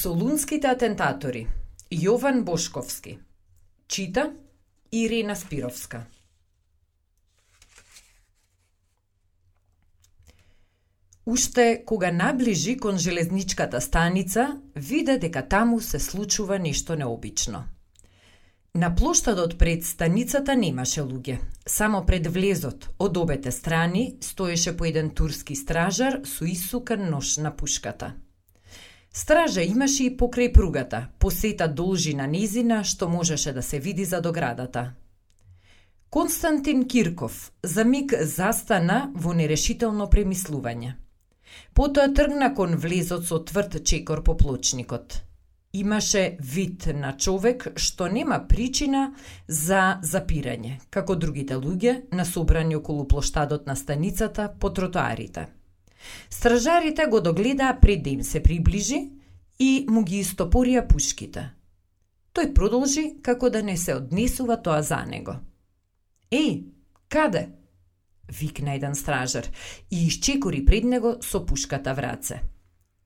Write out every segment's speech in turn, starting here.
Солунските атентатори. Јован Бошковски. Чита Ирина Спировска. Уште кога наближи кон железничката станица, виде дека таму се случува нешто необично. На плоштадот пред станицата немаше луѓе. Само пред влезот, од обете страни, стоеше по еден турски стражар со исукан нож на пушката. Стража имаше и покрај пругата, посета должина низина што можеше да се види за доградата. Константин Кирков за миг застана во нерешително премислување. Потоа тргна кон влезот со тврд чекор по плочникот. Имаше вид на човек што нема причина за запирање, како другите луѓе насобрани околу плоштадот на станицата по тротоарите. Стражарите го догледаа пред да им се приближи и му ги истопорија пушките. Тој продолжи како да не се однесува тоа за него. Еј, каде? Викна еден стражар и исчекори пред него со пушката в раце.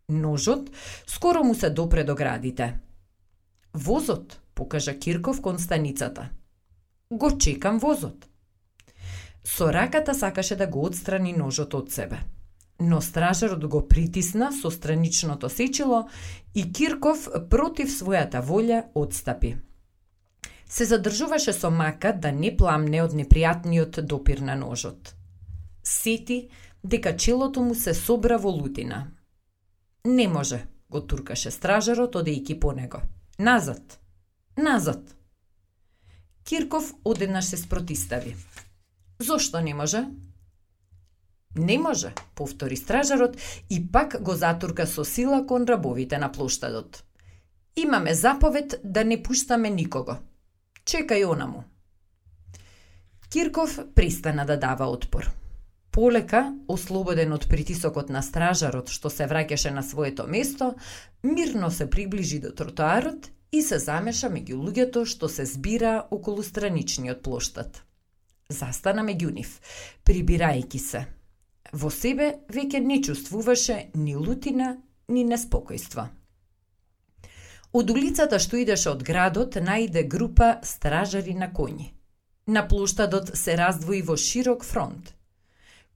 Ножот скоро му се допре до градите. Возот, покажа Кирков кон станицата. Го чекам возот. Со раката сакаше да го отстрани ножот од себе. Но стражарот го притисна со страничното сечило и Кирков против својата волја отстапи. Се задржуваше со мака да не пламне од непријатниот допир на ножот. Сети дека челото му се собра во лутина. Не може, го туркаше стражарот одејќи по него. Назад! Назад! Кирков одеднаш се спротистави. Зошто не може? Не може, повтори стражарот и пак го затурка со сила кон рабовите на плоштадот. Имаме заповед да не пуштаме никого. Чекај онаму. Кирков пристана да дава отпор. Полека, ослободен од притисокот на стражарот што се враќаше на своето место, мирно се приближи до тротоарот и се замеша меѓу луѓето што се збира околу страничниот плоштад. Застана меѓу нив, прибирајќи се. Во себе веќе не чувствуваше ни лутина, ни неспокојство. Од улицата што идеше од градот најде група стражари на коњи. На плоштадот се раздвои во широк фронт.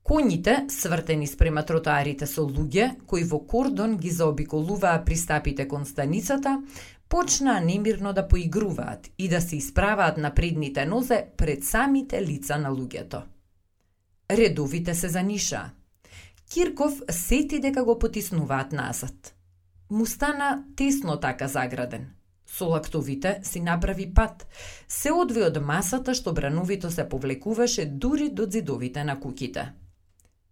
Коњите, свртени спрема тротоарите со луѓе, кои во кордон ги заобиколуваа пристапите кон станицата, почнаа немирно да поигруваат и да се исправаат на предните нозе пред самите лица на луѓето. Редовите се занишаа. Кирков сети дека го потиснуваат назад. Му стана тесно така заграден. Со лактовите си направи пат. Се одви од масата што брановито се повлекуваше дури до зидовите на куќите.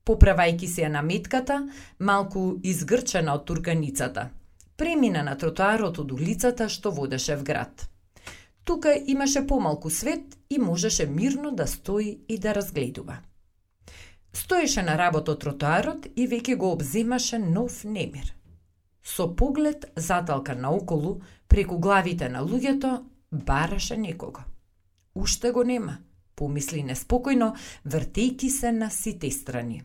Поправајќи се на метката, малку изгрчена од турканицата, премина на тротоарот од улицата што водеше в град. Тука имаше помалку свет и можеше мирно да стои и да разгледува. Стоеше на работот тротоарот и веќе го обземаше нов немир. Со поглед заталкан наоколу, преку главите на луѓето, бараше некого. Уште го нема, помисли неспокојно, вртејќи се на сите страни.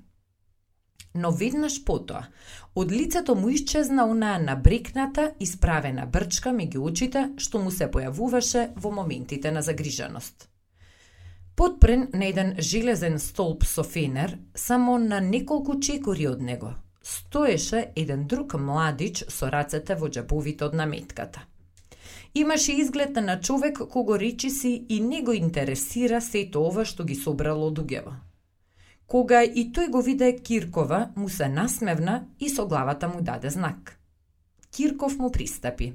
Но веднаш потоа, од лицето му исчезна онаа набрекната, исправена брчка меѓу очите што му се појавуваше во моментите на загриженост. Подпрен на еден железен столб со фенер, само на неколку чекори од него, стоеше еден друг младич со рацете во џебовите од наметката. Имаше изглед на човек кого речиси и не го интересира сето ова што ги собрало луѓево. Кога и тој го виде Киркова, му се насмевна и со главата му даде знак. Кирков му пристапи.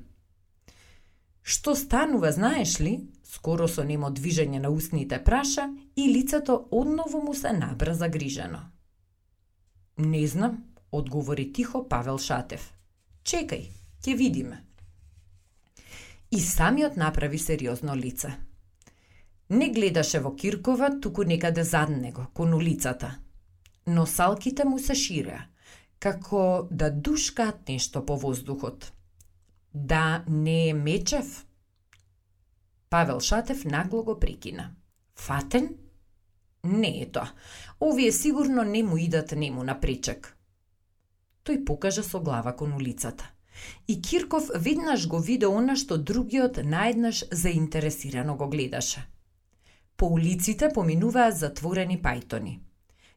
Што станува, знаеш ли? Скоро со немо движење на устните праша и лицето одново му се набра загрижено. Не знам, одговори тихо Павел Шатев. Чекај, ќе видиме. И самиот направи сериозно лице. Не гледаше во Киркова, туку некаде зад него, кон улицата. Но салките му се ширеа, како да душкаат нешто по воздухот. Да не е Мечев? Павел Шатев нагло го прекина. Фатен? Не е тоа. Овие сигурно не му идат нему на пречек. Тој покажа со глава кон улицата. И Кирков веднаш го виде она што другиот наеднаш заинтересирано го гледаше. По улиците поминуваа затворени пајтони.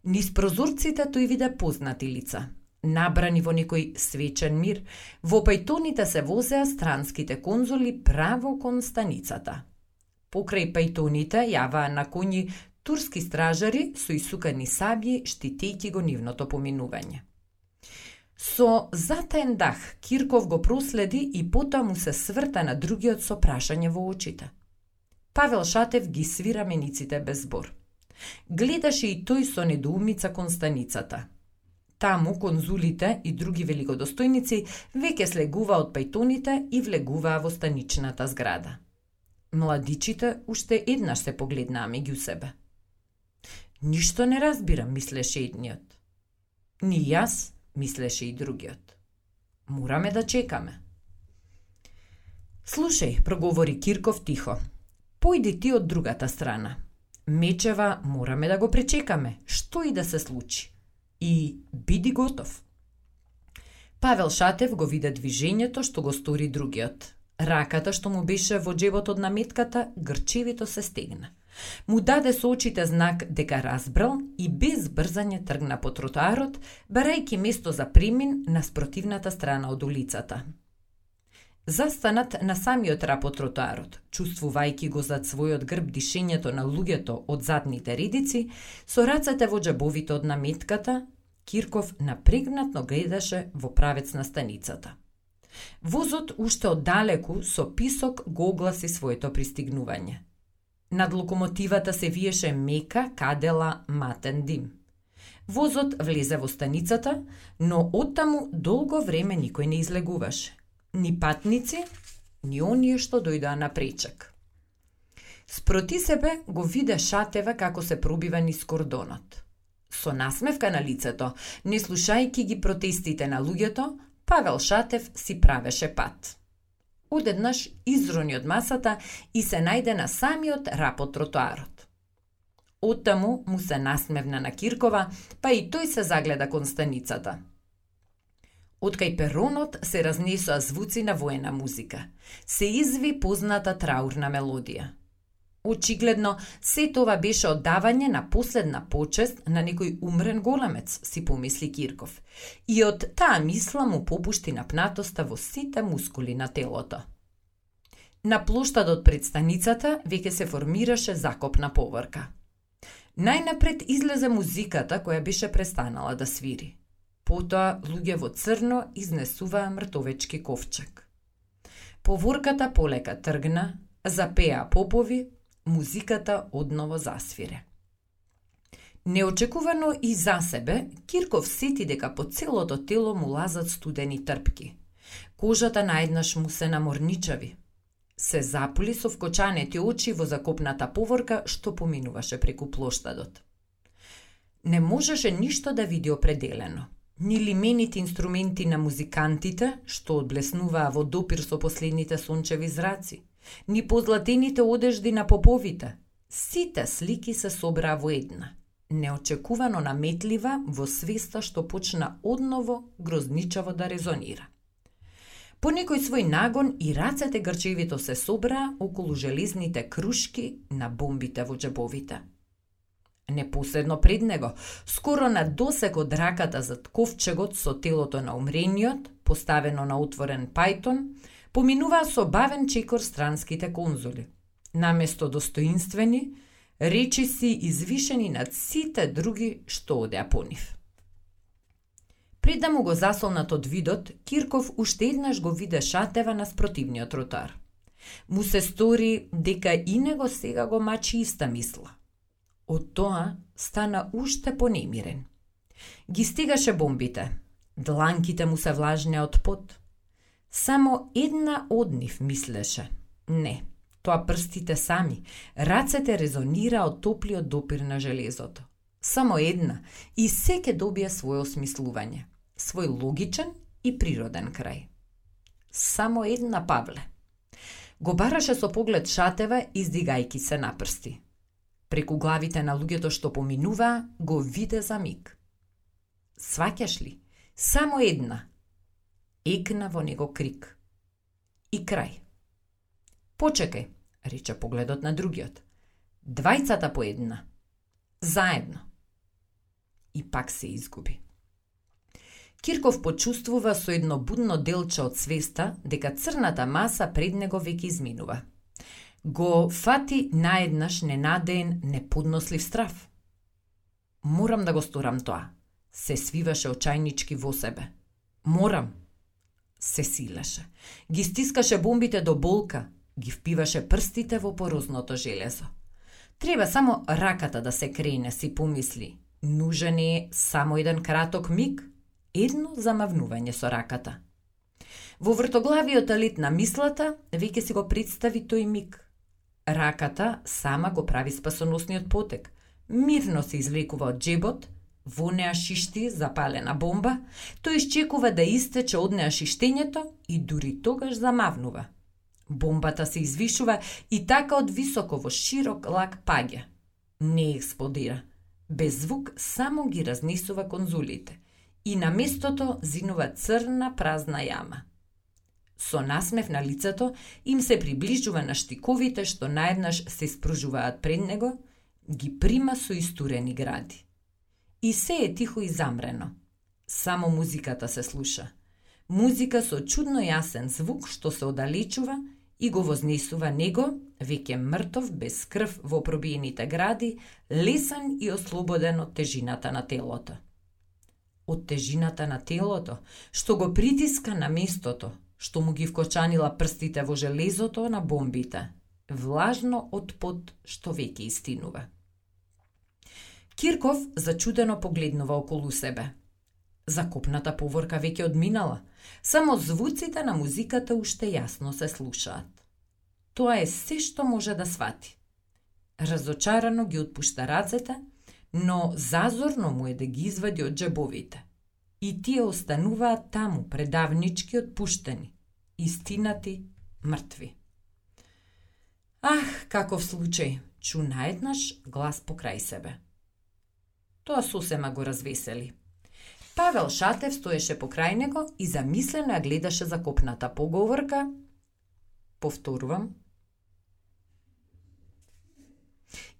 Низ прозорците тој виде познати лица. Набрани во некој свечен мир, во пајтоните се возеа странските конзули право кон станицата. Покрај пајтоните јаваа на коњи турски стражари со исукани сабји, штитејќи го нивното поминување. Со затаен дах Кирков го проследи и потоа му се сврта на другиот со прашање во очите. Павел Шатев ги свира мениците без збор. Гледаше и тој со недоумица кон станицата. Таму конзулите и други великодостојници веќе слегуваа од пајтоните и влегуваа во станичната зграда. Младичите уште еднаш се погледнаа меѓу себе. Ништо не разбирам, мислеше едниот. Ни јас, мислеше и другиот. Мораме да чекаме. Слушај, проговори Кирков тихо. Појди ти од другата страна. Мечева мораме да го пречекаме, што и да се случи. И биди готов. Павел Шатев го виде движењето што го стори другиот. Раката што му беше во џебот од наметката грчевито се стегна. Му даде со очите знак дека разбрал и без брзање тргна по тротоарот, барајќи место за премин на спротивната страна од улицата. Застанат на самиот рап од тротоарот, чувствувајќи го зад својот грб дишењето на луѓето од задните редици, со рацете во џабовите од наметката, Кирков напрегнатно гледаше во правец на станицата. Возот уште оддалеку со писок го огласи своето пристигнување. Над локомотивата се виеше мека, кадела, матен дим. Возот влезе во станицата, но оттаму долго време никој не излегуваше. Ни патници, ни оние што дојдоа на пречек. Спроти себе го виде Шатева како се пробива низ кордонот. Со насмевка на лицето, не слушајќи ги протестите на луѓето, Павел Шатев си правеше пат. Одеднаш изрони од масата и се најде на самиот рап од тротоарот. Оттаму му се насмевна на Киркова, па и тој се загледа кон станицата. Откај перонот се разнесоа звуци на воена музика. Се изви позната траурна мелодија. Очигледно, се това беше оддавање на последна почест на некој умрен големец, си помисли Кирков. И од таа мисла му попушти напнатоста во сите мускули на телото. На плоштадот пред станицата веќе се формираше закопна поврка. Најнапред излезе музиката која беше престанала да свири. Потоа луѓе во црно изнесуваа мртовечки ковчег. Поворката полека тргна, запеа попови, музиката одново засвире. Неочекувано и за себе, Кирков сети дека по целото тело му лазат студени трпки. Кожата наеднаш му се наморничави. Се запули со вкочанети очи во закопната поворка што поминуваше преку плоштадот. Не можеше ништо да види определено. Ни лимените инструменти на музикантите, што одблеснуваа во допир со последните сончеви зраци, ни позлатените одежди на поповите. Сите слики се собраа во една, неочекувано наметлива во свеста што почна одново грозничаво да резонира. По некој свој нагон и рацете грчевито се собраа околу железните крушки на бомбите во џебовите. Непосредно пред него, скоро на досек од раката зад ковчегот со телото на умрениот, поставено на отворен пајтон, поминуваа со бавен чекор странските конзули. Наместо достоинствени, речиси извишени над сите други што одеа по нив. Пред да му го засолнат од видот, Кирков уште еднаш го виде Шатева на спротивниот тротоар. Му се стори дека и него сега го мачи иста мисла. Од тоа стана уште понемирен. Ги стигаше бомбите. Дланките му се влажнеа од пот. Само една од нив мислеше. Не, тоа прстите сами. Рацете резонира од топлиот допир на железото. Само една и секе добија своје осмислување. Свој логичен и природен крај. Само една, Павле. Го бараше со поглед Шатева, издигајки се на прсти. Преку главите на луѓето што поминуваа, го виде за миг. Сваќаш ли? Само една. екна во него крик. И крај. Почекај, рече погледот на другиот. Двајцата по една. Заедно. И пак се изгуби. Кирков почувствува со едно будно делче од свеста дека црната маса пред него веќе изминува. Го фати наеднаш ненадеен, неподнослив страв. Морам да го сторам тоа, се свиваше очајнички во себе. Морам. Се силеше. Ги стискаше бомбите до болка, ги впиваше прстите во порозното железо. Треба само раката да се крене, си помисли. Нужен е само еден краток миг, едно замавнување со раката. Во вртоглавиот лет на мислата, веќе си го представи тој миг. Раката сама го прави спасоносниот потек. Мирно се извлекува од джебот, во неа шишти запалена бомба, тој изчекува да истече од неа шиштењето и дури тогаш замавнува. Бомбата се извишува и така од високо во широк лак паѓа. Не експлодира. Без звук само ги разнесува конзулите. И на местото зинува црна празна јама. Со насмев на лицето им се приближува на штиковите што наеднаш се спружуваат пред него, ги прима со истурени гради. И се е тихо и замрено. Само музиката се слуша. Музика со чудно јасен звук што се оддалечува и го вознесува него, веќе мртов, без крв во пробиените гради, лесен и ослободен од тежината на телото. Од тежината на телото, што го притиска на местото, што му ги вкочанила прстите во железото на бомбите, влажно од пот што веќе истинува. Кирков зачудено погледнува околу себе. Закопната поворка веќе одминала, само звуците на музиката уште јасно се слушаат. Тоа е се што може да свати. Разочарано ги отпушта рацете, но зазорно му е да ги извади од джебовите. И тие остануваат таму, предавнички отпуштени, истинати, мртви. Ах, каков случај, чу наеднаш глас покрај себе. Тоа сосема го развесели. Павел Шатев стоеше покрај него и замислено ја гледаше закопната поговорка. Повторувам.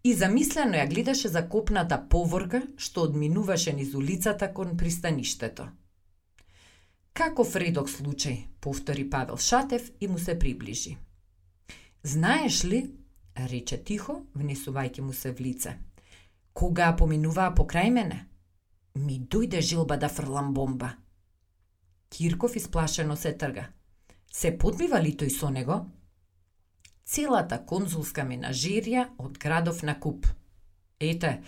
И замислено ја гледаше закопната поворка што одминуваше низ улицата кон пристаништето. Каков редок случај, повтори Павел Шатев и му се приближи. Знаеш ли, рече тихо, внесувајќи му се в лице, кога поминуваа покрај мене, ми дојде желба да фрлам бомба. Кирков исплашено се трга. Се подбива ли тој со него? Целата конзулска менажерија од градов на куп. Ете,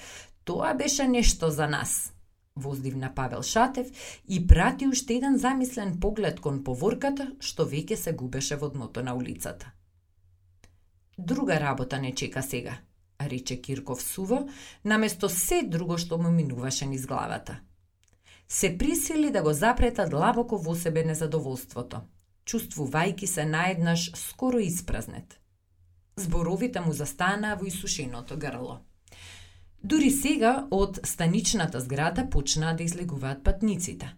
тоа беше нешто за нас, воздивна Павел Шатев и прати уште еден замислен поглед кон поворката што веќе се губеше во дното на улицата. Друга работа не чека сега, рече Кирков суво, наместо се друго што му минуваше низ главата. Се присили да го запрета длабоко во себе незадоволството, чувствувајќи се наеднаш скоро испразнет. Зборовите му застанаа во исушеното грло. Дури сега од станичната зграда почнаа да излегуваат патниците.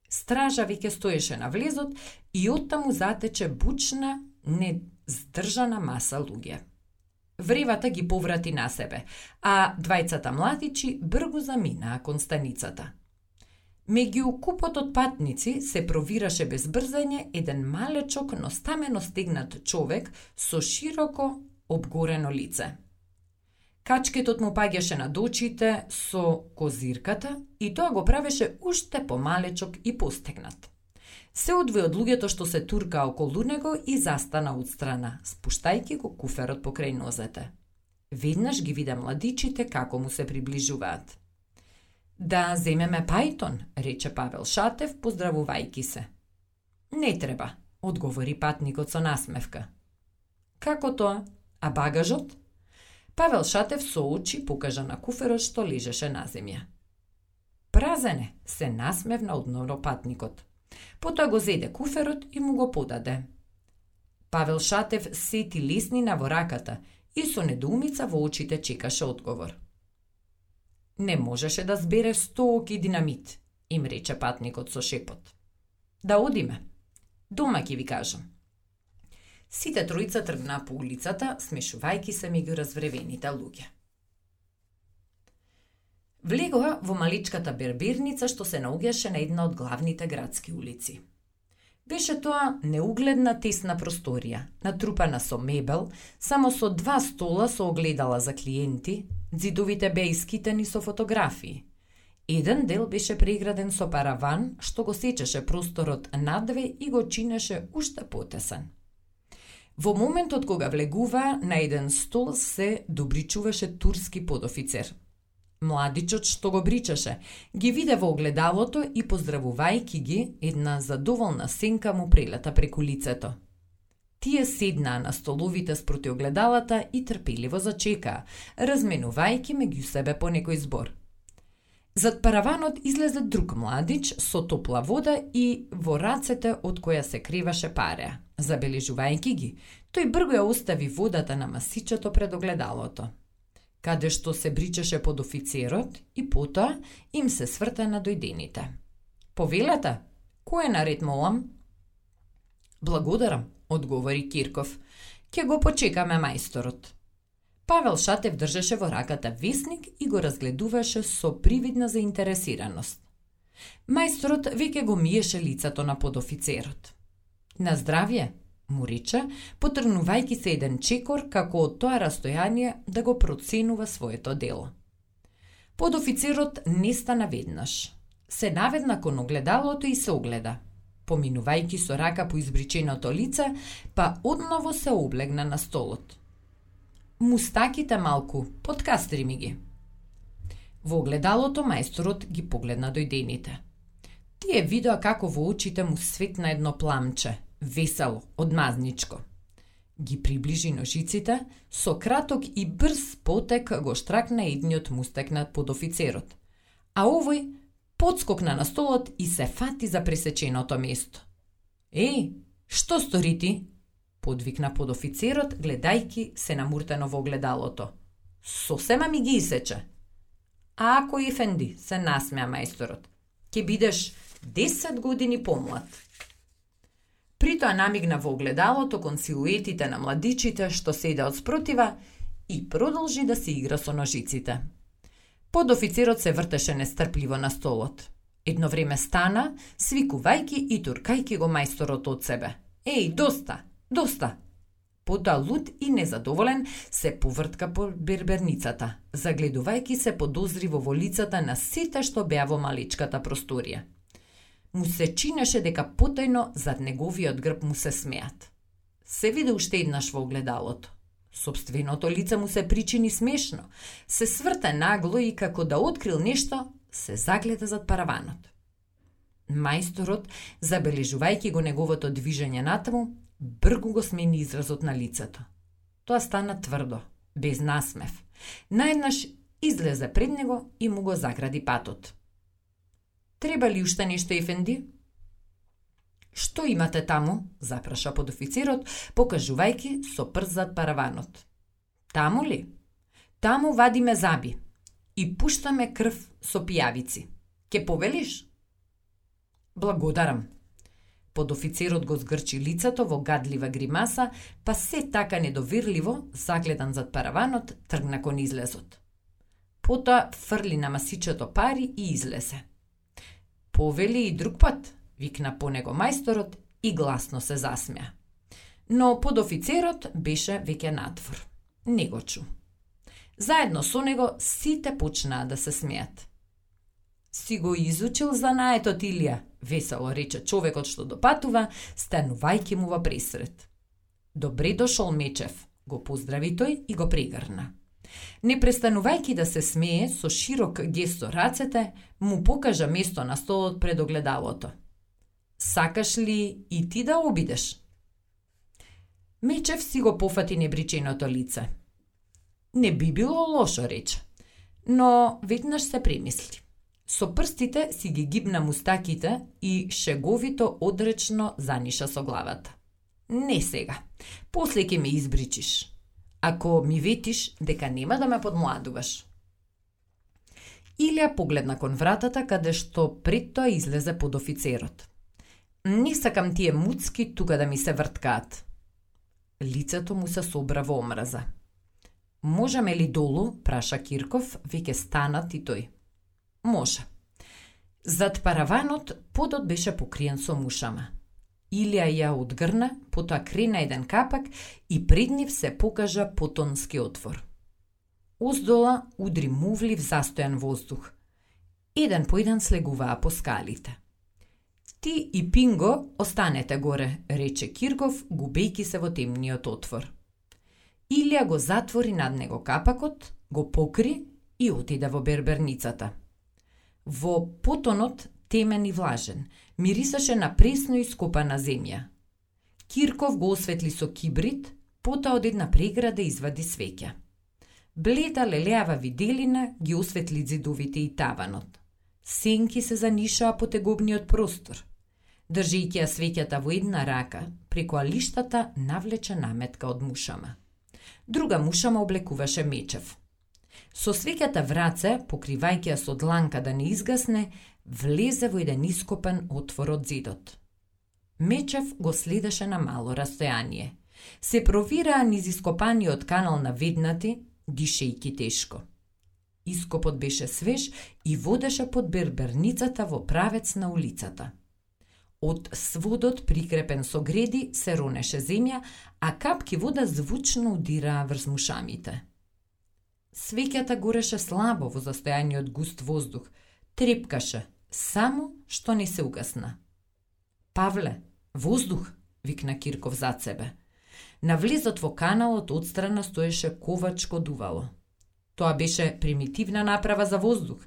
Стража веќе стоеше на влезот и оттаму затече бучна, нездржана маса луѓе. Вревата ги поврати на себе, а двајцата младичи бргу заминаа кон станицата. Меѓу купот од патници се провираше без брзање еден малечок, но стамено стегнат човек со широко обгорено лице. Качкетот му паѓаше над очите со козирката и тоа го правеше уште помалечок и постегнат. Се одвои од луѓето што се туркаа околу него и застана отстрана, спуштајќи го куферот покрај нозете. Веднаш ги вида младичите како му се приближуваат. Да земеме пајтон, рече Павел Шатев, поздравувајќи се. Не треба, одговори патникот со насмевка. Како тоа? А багажот? Павел Шатев со очи покажа на куферот што лежеше на земја. Празене, се насмевна одново патникот. Потоа го зеде куферот и му го подаде. Павел Шатев сети леснина во раката и со недоумица во очите чекаше одговор. Не можеше да збере 100 оки динамит, им рече патникот со шепот. Да одиме, Дома ќе ви кажам. Сите тројца тргнаа по улицата, смешувајќи се меѓу развревените луѓе. Влегоа во маличката берберница што се наоѓаше на една од главните градски улици. Беше тоа неугледна тесна просторија, натрупана со мебел, само со 2 стола со огледала за клиенти, ѕидовите беа искитени со фотографии. Еден дел беше преграден со параван што го сечеше просторот надве и го чинеше уште потесен. Во моментот кога влегува, на еден стол се добричуваше турски подофицер. Младичот што го бричаше, ги виде во огледалото и поздравувајќи ги, една задоволна сенка му прелета преку лицето. Тие седнаа на столовите спроти огледалата и трпеливо зачекаа, разменувајќи меѓу себе по некој збор. Зад параванот излезе друг младич со топла вода и во рацете од која се креваше пареа. Забележувајќи ги, тој брзо ја остави водата на масичето пред огледалото, каде што се бричеше подофицерот и потоа им се сврта на дојдените. Повелете, кој е наред, молам? Благодарам, одговори Кирков. Ќе го почекаме мајсторот. Павел Шатев држеше во раката весник и го разгледуваше со привидна заинтересираност. Мајсторот веќе го миеше лицето на подофицерот. На здравје, му рече, потргнувајќи се еден чекор како од тоа растојание да го проценува своето дело. Подофицерот не стана веднаш. Се наведна кон огледалото и се огледа. Поминувајќи со рака по избриченото лице, па одново се облегна на столот. Мустаките малку, подкастри ми ги. Во огледалото мајсторот ги погледна дојдените. Тие видоа како во очите му светна едно пламче, весело, одмазничко. Ги приближи ножиците, со краток и брз потек го штракна едниот мустак над подофицерот, а овој подскокна на столот и се фати за пресеченото место. Еј, што стори ти? Подвикна подофицерот, гледајки се намуртено во огледалото. Сосема ми ги исече. Ако ефенди, се насмеа мајсторот, ќе бидеш 10 години помлад. Притоа намигна во огледалото кон силуетите на младичите што седеа од спротива и продолжи да се игра со ножиците. Подофицерот се вртеше нестрпливо на столот. Едно време стана, свикувајќи и туркајќи го мајсторот од себе. Еј, доста! Доста! Потоа луд и незадоволен се повртка по берберницата, загледувајќи се подозриво во лицата на сите што беа во маличката просторија. Му се чинеше дека потајно зад неговиот грб му се смеат. Се виде уште еднаш во огледалото. Сопственото лице му се причини смешно, се сврта нагло и како да открил нешто, се загледа зад параванот. Мајсторот, забележувајќи го неговото движење натаму, бргу го смени изразот на лицето. Тоа стана тврдо, без насмев. Наеднаш излезе пред него и му го загради патот. Треба ли уште нешто, ефенди? Што имате таму? Запраша подофицерот, покажувајќи со прст зад параванот. Таму ли? Таму вадиме заби и пуштаме крв со пијавици. Ке повелиш? Благодарам. Подофицерот го згрчи лицето во гадлива гримаса, па се така недоверливо, загледан зад параванот, тргна кон излезот. Потоа фрли на масичето пари и излезе. Повели и друг пат, викна по него мајсторот и гласно се засмеа. Но подофицерот беше веќе надвор. Не го чу. Заедно со него сите почнаа да се смеат. Си го изучил занаетот, Илија, весело рече човекот што допатува, станувајќи му во пресред. Добре дошол, Мечев, го поздрави тој и го прегрна. Не престанувајќи да се смее, со широк гест со рацете, му покажа место на столот пред огледалото. Сакаш ли и ти да обидеш? Мечев си го пофати небриченото лице. Не би било лошо, рече, но веднаш се премисли. Со прстите си ги гибна мустаките и шеговито одречно заниша со главата. Не сега, после ќе ме избричиш, ако ми ветиш дека нема да ме подмладуваш. Илија погледна кон вратата каде што пред тоа излезе подофицерот. Не сакам тие муцки тука да ми се врткаат. Лицето му се собра во омраза. Можеме ли долу, праша Кирков, веќе станат и тој. Може. Зад параванот подот беше покриен со мушама. Илија ја одгрна, потоа крена еден капак и пред нив се покажа потонски отвор. Оздола удри мувлив застојан воздух. Еден по еден слегуваа по скалите. Ти и Пинго останете горе, рече Кирков, губејки се во темниот отвор. Илија го затвори над него капакот, го покри и отиде во берберницата. Во потонот, темен и влажен, мирисаше на пресно ископана земја. Кирков го осветли со кибрид, потоа од една преграда извади свеќа. Бледа лелеава виделина ги осветли зидовите и таванот. Сенки се занишаа по тегобниот простор. Држејќи ја свеќата во една рака, преку алиштата навлече наметка од мушама. Друга мушама облекуваше мечев. Со свеќата в раце, покривајќи ја со дланка да не изгасне, влезе во еден ископан отвор од зидот. Мечев го следеше на мало растојание. Се провираа низ ископаниот канал на веднати, дишејќи тешко. Ископот беше свеж и водеше под берберницата во правец на улицата. Од сводот, прикрепен со греди, се ронеше земја, а капки вода звучно удираа врз мушамите. Свеќата гореше слабо во застојаниот густ воздух, трепкаше, само што не се угасна. Павле, воздух, викна Кирков зад себе. На влезот во каналот отстрана стоеше ковачко дувало. Тоа беше примитивна направа за воздух.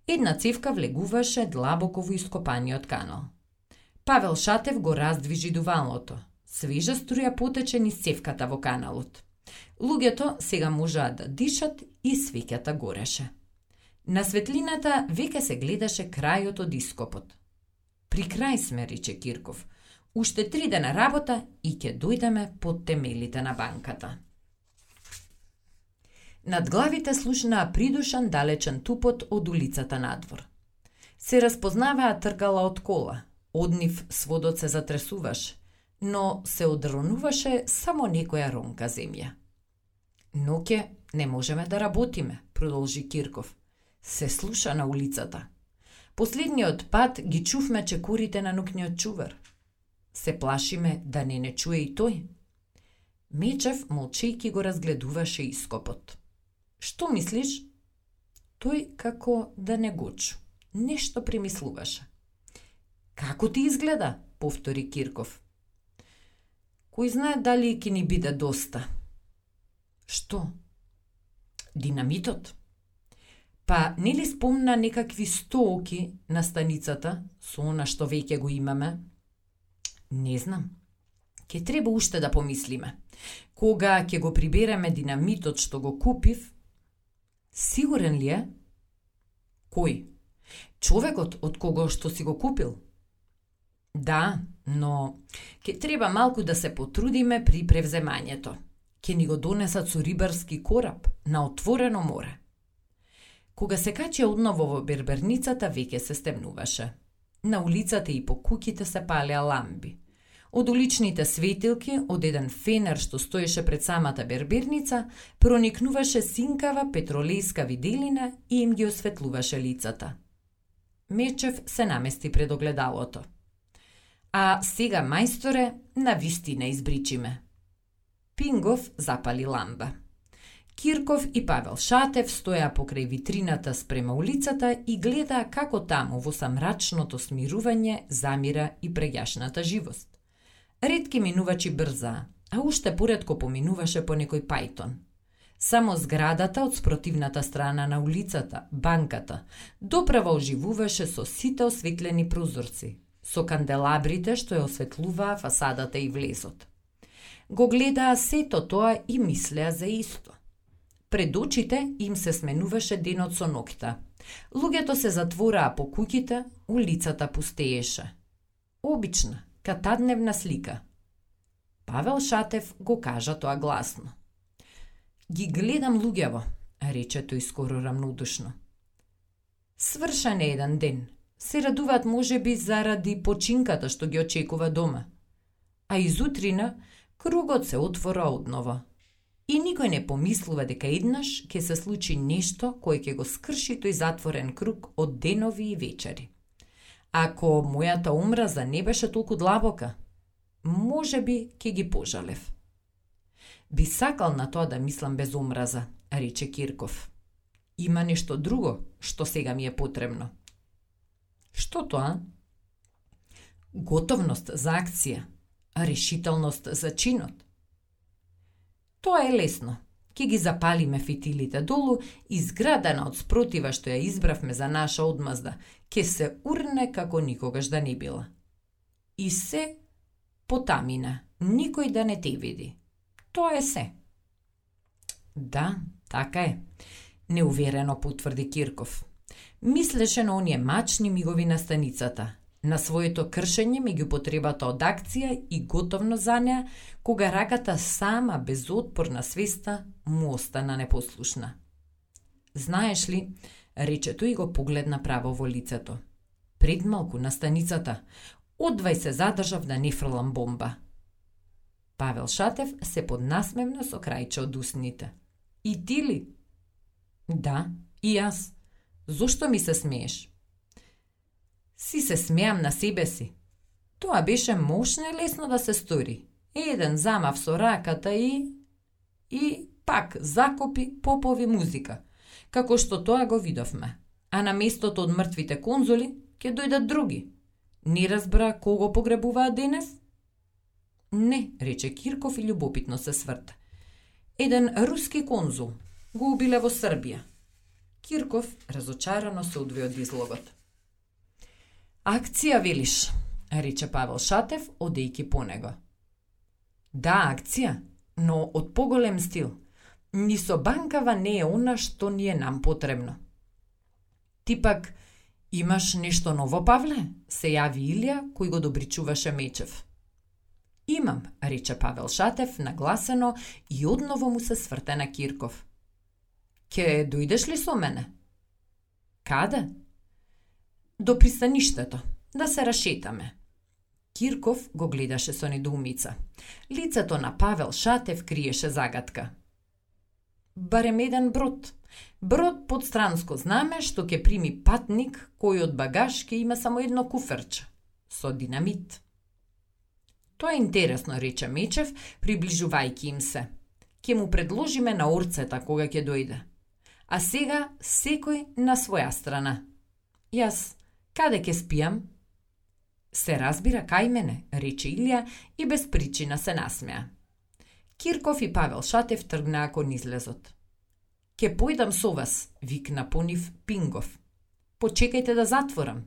Една цевка влегуваше длабоко во ископаниот канал. Павел Шатев го раздвижи дувалото. Свежа струја потече низ цевката во каналот. Луѓето сега можаа да дишат и свеќата гореше. На светлината веќе се гледаше крајот од ископот. При крај сме, рече Кирков. Уште 3 дена работа и ќе дојдеме под темелите на банката. Над главите слушнаа придушан далечен тупот од улицата надвор. Се распознаваа тркала од кола. Од нив сводот се затресуваш, но се одронуваше само некоја ронка земја. Ноќе не можеме да работиме, продолжи Кирков. Се слуша на улицата. Последниот пат ги чувме чекорите на ноќниот чувар. Се плашиме да не чуе и тој. Мечев молчејки го разгледуваше ископот. Што мислиш? Тој како да не го чу. Нешто премислуваше. Како ти изгледа? Повтори Кирков. Кој знае дали ќе ни биде доста. Што? Динамитот? Па нели спомна некакви 100 оки на станицата со она што веќе го имаме? Не знам. Ке треба уште да помислиме. Кога ќе го прибереме динамитот што го купив? Сигурен ли е? Кој? Човекот од кого што си го купил? Да, но ќе треба малку да се потрудиме при превземањето. Ќе ни го донесат со рибарски кораб на отворено море. Кога се качи одново во берберницата, веќе се стемнуваше. На улицата и по куќите се палеа ламби. Од уличните светилки, од еден фенер што стоеше пред самата берберница, проникнуваше синкава петролејска виделина и им ги осветлуваше лицата. Мечев се намести пред огледалото. А сега, мајсторе, на вистина избричиме. Пингов запали ламба. Кирков и Павел Шатев стоја покрај витрината спрема улицата и гледаа како таму во самрачното смирување замира и преѓашната живост. Ретки минувачи брзаа, а уште поретко поминуваше по некој пајтон. Само зградата од спротивната страна на улицата, банката, доправо оживуваше со сите осветлени прозорци, со канделабрите што ја осветлуваа фасадата и влезот. Го гледаа сето тоа и мислеа за исто. Пред очите им се сменуваше денот со ноќта. Луѓето се затвораа по куќите, улицата пустееше. Обична, катадневна слика. Павел Шатев го кажа тоа гласно. Ги гледам луѓево, рече тој скоро рамнодушно. Свршен е еден ден, Се радуваат можеби заради починката што ги очекува дома. А изутрина кругот се отвора одново. И никој не помислува дека еднаш ќе се случи нешто кое ќе го скрши тој затворен круг од денови и вечери. Ако мојата омраза не беше толку длабока, можеби ќе ги пожалев. Би сакал на тоа да мислам без омраза, рече Кирков. Има нешто друго што сега ми е потребно. Што тоа? Готовност за акција, решителност за чинот. Тоа е лесно. Ке ги запалиме фитилите долу и зградена од спротива што ја избравме за наша одмазда, ке се урне како никогаш да не била. И се потамина, никој да не те види. Тоа е се. Да, така е, неуверено потврди Кирков. Мислеше на оние мачни мигови на станицата, на своето кршење меѓу потребата од акција и готовно за неа, кога раката сама без отпор на свеста му остана непослушна. Знаеш ли, рече тој и го погледна право во лицето. Пред малку на станицата, одвај се задржав да не фрлам бомба. Павел Шатев се поднасмевна со крајче од усните. И ти ли? Да, и јас. Зошто ми се смееш? Си се смеам на себе си. Тоа беше мошно и лесно да се стори. Еден замав со раката и пак закопи попови музика, како што тоа го видовме. А на местото од мртвите конзули ќе дојдат други. Не разбра кого погребуваат денес? Не, рече Кирков и љубопитно се сврта. Еден руски конзул го убиле во Србија. Кирков разочарано се одвои од излогот. Акција, велиш, рече Павел Шатев, одејки по него. Да, акција, но од поголем стил. Ни со банкава не е она што ни е нам потребно. Ти пак имаш нешто ново, Павле? Се јави Илија, кој го добричуваше Мечев. Имам, рече Павел Шатев, нагласено и одново му се сврте на Кирков. Ке дојдеш ли со мене? Каде? До пристаништето, да се рашетаме. Кирков го гледаше со недоумица. Лицето на Павел Шатев криеше загадка. Барем еден брод. Брод под странско знаме што ќе прими патник кој од багаж ќе има само едно куферче со динамит. Тоа е интересно, рече Мечев, приближувајќи им се. Ќе му предложиме на орцета кога ќе дојде. А сега секој на своја страна. Јас, каде ќе спијам? Се разбира кај мене, рече Илија и без причина се насмеа. Кирков и Павел Шатев тргнаа кон излезот. Ке појдам со вас, викна понив Пингов. Почекајте да затворам.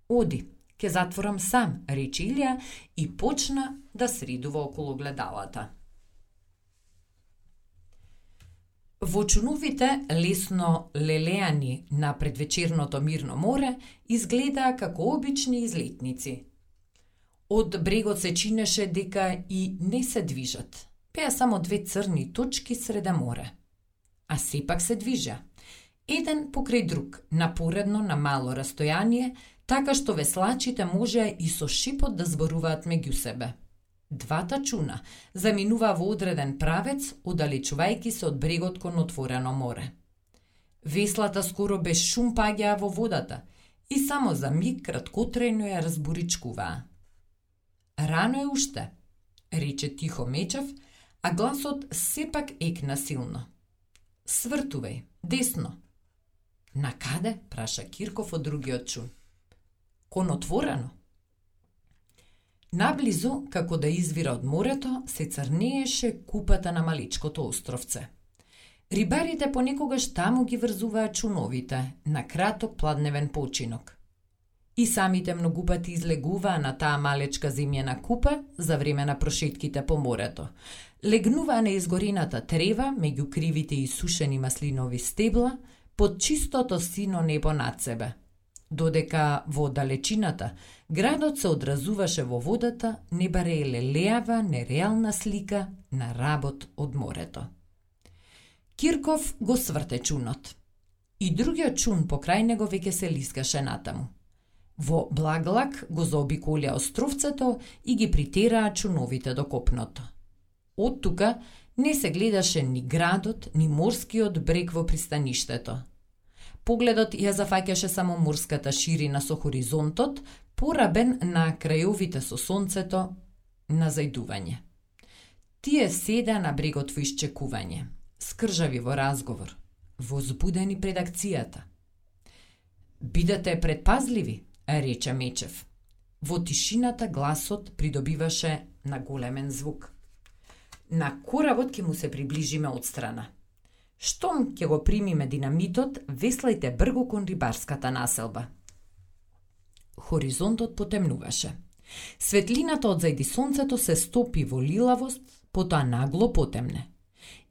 Оди, ке затворам сам, рече Илија и почна да средува околу гледалата. Во чуновите лесно лелеани на предвечерното мирно море изгледаа како обични излетници. Од брегот се чинеше дека и не се движат. Беа само две црни точки среде море. А сепак се движа. Еден покрај друг, напоредно на мало растојание, така што веслачите можеа и со шипот да зборуваат меѓу себе. Двата чуна заминуваа во одреден правец, оддалечувајќи се од брегот кон отворено море. Веслата скоро без шум паѓаа во водата и само за миг краткотрајно ја разбуричкуваа. Рано е уште, рече тихо Мечев, а гласот сепак екна силно. Свртувај, десно. На каде? Праша Кирков од другиот чун. Кон отворено. Наблизу, како да извира од морето, се црнееше купата на маличкото островце. Рибарите понекогаш таму ги врзуваа чуновите на краток пладневен починок. И самите многупати излегуваа на таа малечка земјена купа за време на прошетките по морето. Легнуваа на изгорената трева меѓу кривите и сушени маслинови стебла под чистото сино небо над себе. Додека во далечината градот се одразуваше во водата, не баре лелеава нереална слика на работ од морето. Кирков го сврте чунот. И другиот чун покрај него веќе се лискаше натаму. Во благлак го заобиколија островцето и ги притераа чуновите до копното. Од тука не се гледаше ни градот, ни морскиот брег во пристаништето. Погледот ја зафаќаше само морската ширина со хоризонтот, порабен на крајовите со сонцето на зајдување. Тие седеа на брегот во исчекување, скржави во разговор, возбудени пред акцијата. Бидете предпазливи, рече Мечев. Во тишината гласот придобиваше на големен звук. На коработ ќе му се приближиме од страна. Штом ќе го примиме динамитот, веслајте бргу кон рибарската населба. Хоризонтот потемнуваше. Светлината од зајди сонцето се стопи во лилавост, потоа нагло потемне.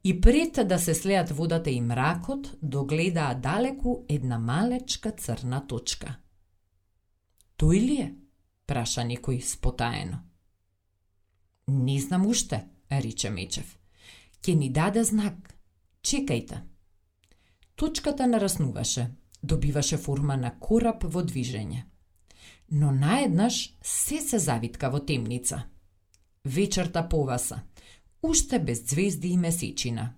И пред да се слеат водата и мракот, догледаа далеку една малечка црна точка. Тој ли е? Праша некој спотаено. Не знам уште, рече Мечев. Ке ни даде знак. Чекајте. Точката нараснуваше, добиваше форма на кораб во движење. Но наеднаш се завитка во темница. Вечерта поваса, уште без звезди и месечина.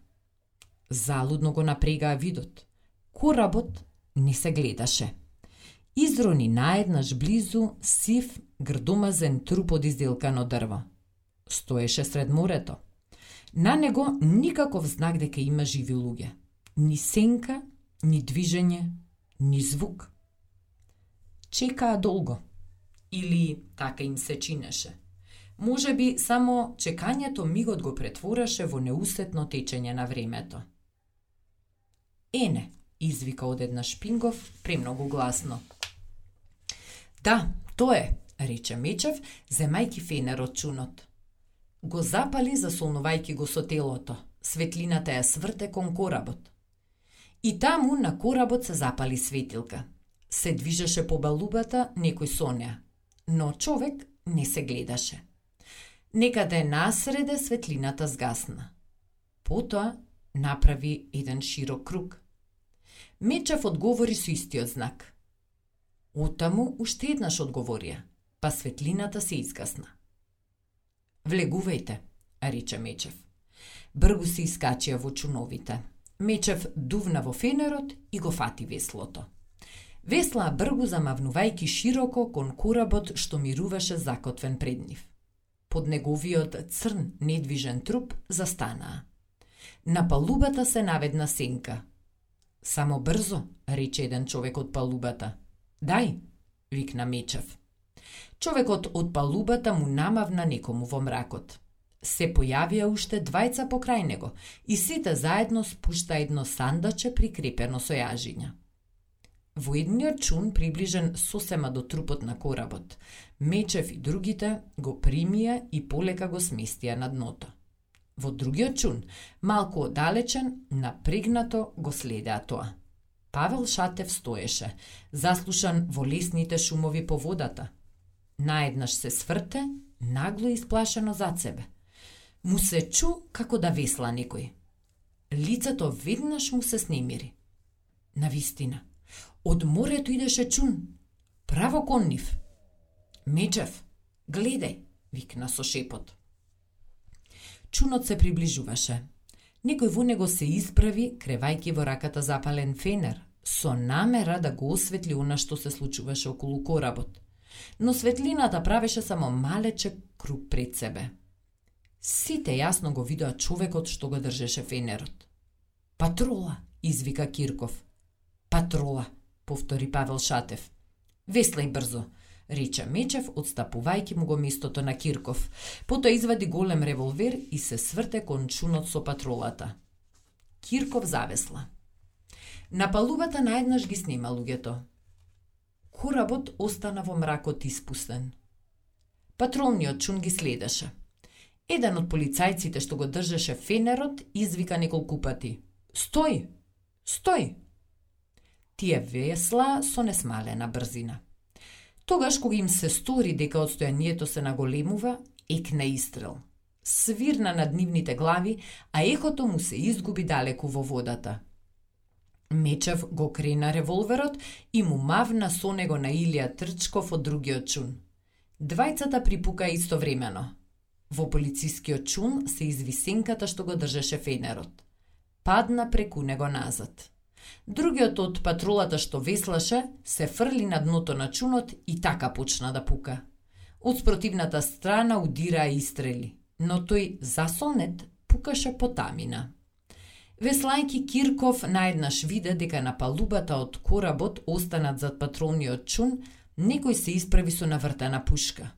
Залудно го напрегаа видот. Коработ не се гледаше. Изрони наеднаш близу сив, грдомазен труп од изделкано дрво. Стоеше сред морето. На него никаков знак дека има живи луѓе. Ни сенка, ни движење, ни звук. Чекаа долго. Или така им се чинеше. Може би само чекањето мигот го претвораше во неусетно течење на времето. Ене, извика одеднаш Пингов премногу гласно. Да, тоа е, рече Мечев, земајки фенер од чунот. Го запали засолнувајќи го со телото. Светлината ја сврте кон коработ. И таму на коработ се запали светилка. Се движеше по балубата некој со неа, но човек не се гледаше. Некаде насреде светлината згасна. Потоа направи еден широк круг. Мечев одговори со истиот знак. Отаму уште еднаш одговорија, па светлината се изгасна. Влегувајте, рече Мечев. Бргу се искачија во чуновите. Мечев дувна во фенерот и го фати веслото. Веслаа бргу замавнувајќи широко кон коработ што мируваше закотвен пред нив. Под неговиот црн недвижен труп застанаа. На палубата се наведна сенка. Само брзо, рече еден човек од палубата. Дај, викна Мечев. Човекот од палубата му намавна некому во мракот. Се појавија уште двајца покрај него и сите заедно спушта едно сандаче прикрепено со јажиња. Во едниот чун, приближен сосема до трупот на коработ, Мечев и другите го примија и полека го сместија на дното. Во другиот чун, малку оддалечен, напрегнато го следеа тоа. Павел Шатев стоеше, заслушан во лесните шумови по водата. Наеднаш се сврте, нагло исплашено зад себе. Му се чу како да весла некој. Лицето веднаш му се снемири. Навистина, од морето идеше чун, право кон нив. Мечев, гледај, викна со шепот. Чунот се приближуваше. Некој во него се исправи, кревајќи во раката запален фенер, со намера да го осветли она што се случуваше околу коработ. Но светлината правеше само малечек круг пред себе. Сите јасно го видоа човекот што го држеше фенерот. Патрола, извика Кирков. Патрола, повтори Павел Шатев. Веслај брзо, рече Мечев, отстапувајќи му го местото на Кирков. Потоа извади голем револвер и се сврте кон чунот со патролата. Кирков завесла. На палубата наеднаш ги снима луѓето. Коработ остана во мракот испустен. Патролниот чун ги следеше. Еден од полицајците што го држеше фенерот извика неколку пати. Стој! Стој! Тие весла со несмалена брзина. Тогаш кога им се стори дека одстојанието се наголемува, екна истрел. Свирна над нивните глави, а ехото му се изгуби далеку во водата. Мечев го крена револверот и му мавна со него на Илија Трчков од другиот чун. Двајцата припука истовремено. Во полицискиот чун се изви сенката што го држеше фенерот. Падна преку него назад. Другиот од патрулата што веслаше се фрли на дното на чунот и така почна да пука. Од спротивната страна удираа истрели, но тој засолнет пукаше по тамина. Веслајки Кирков наеднаш виде дека на палубата од коработ останат зад патролниот чун, некој се исправи со навртена пушка.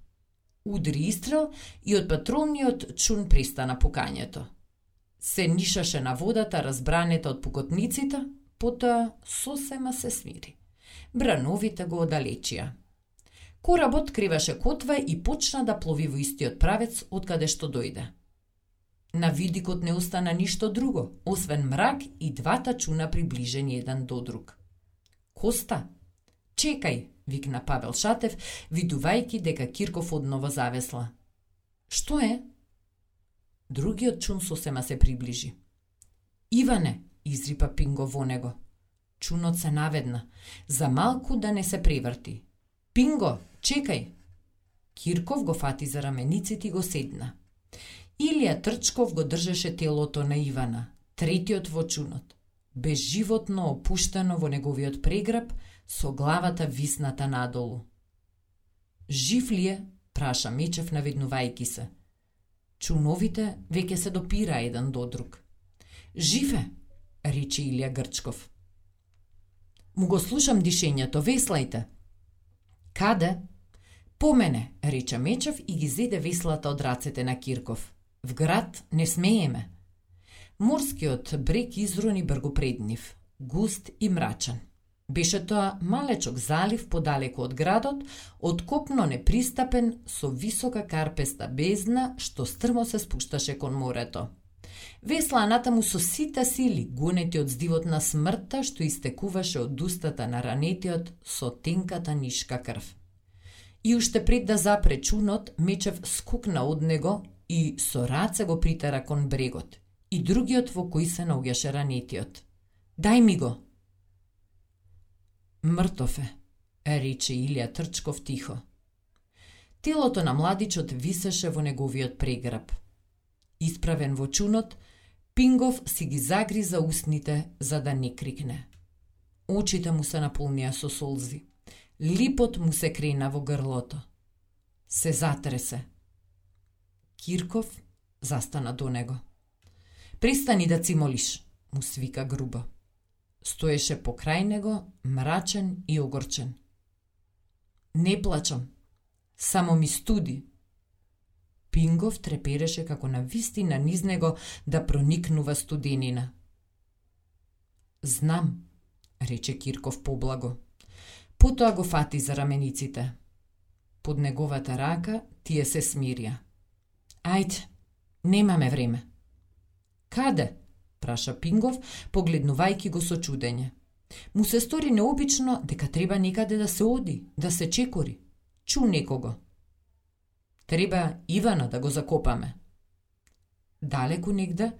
Удри истрел и од патролниот чун престана пукањето. Се нишаше на водата разбранета од пукотниците, потоа сосема се смири. Брановите го оддалечија. Коработ криваше котва и почна да плови во истиот правец од каде што дојде. На видикот не остана ништо друго, освен мрак и двата чуна приближени еден до друг. Коста, чекај, викна Павел Шатев, видувајќи дека Кирков одново завесла. Што е? Другиот чун сосема се приближи. Иване, изрипа Пинго во него. Чунот се наведна, за малку да не се преврти. Пинго, чекај! Кирков го фати за рамениците и го седна. Илија Трчков го држеше телото на Ивана, третиот во чунот, безживотно опуштено во неговиот преграб, со главата висната надолу. Жив ли е? Праша Мечев наведнувајќи се. Чуновите веќе се допира еден до друг. Жив е, рече Илија Грчков. Му го слушам дишењето, веслајте. Каде? По мене, рече Мечев и ги зеде веслата од рацете на Кирков. В град не смееме. Морскиот брег изрони бргу пред нив, густ и мрачен. Беше тоа малечок залив подалеку од градот, откопно непристапен со висока карпеста бездна што стрмо се спушташе кон морето. Весла натаму со сите сили, гонети од здивот на смртта што истекуваше од устата на ранетиот со тенката нишка крв. И уште пред да запре чунот, Мечев скокна од него и со раце го притера кон брегот, и другиот во кој се наоѓаше ранетиот. Дај ми го! Мртов е, рече Илија Трчков тихо. Телото на младичот висеше во неговиот преграб. Исправен во чунот, Пингов си ги загриза устните за да не крикне. Очите му се наполнија со солзи. Липот му се крена во грлото. Се затресе. Кирков застана до него. Престани да цимолиш, му свика грубо. Стоеше покрај него, мрачен и огорчен. Не плачам, само ми студи. Пингов трепереше како на вистина низ него да проникнува студенина. Знам, рече Кирков поблаго. Потоа го фати за рамениците. Под неговата рака тие се смирија. Ајде, немаме време. Каде? Праша Пингов, погледнувајќи го со чудење. Му се стори необично дека треба некаде да се оди, да се чекори. Чу некого. Треба Ивана да го закопаме. Далеку негде,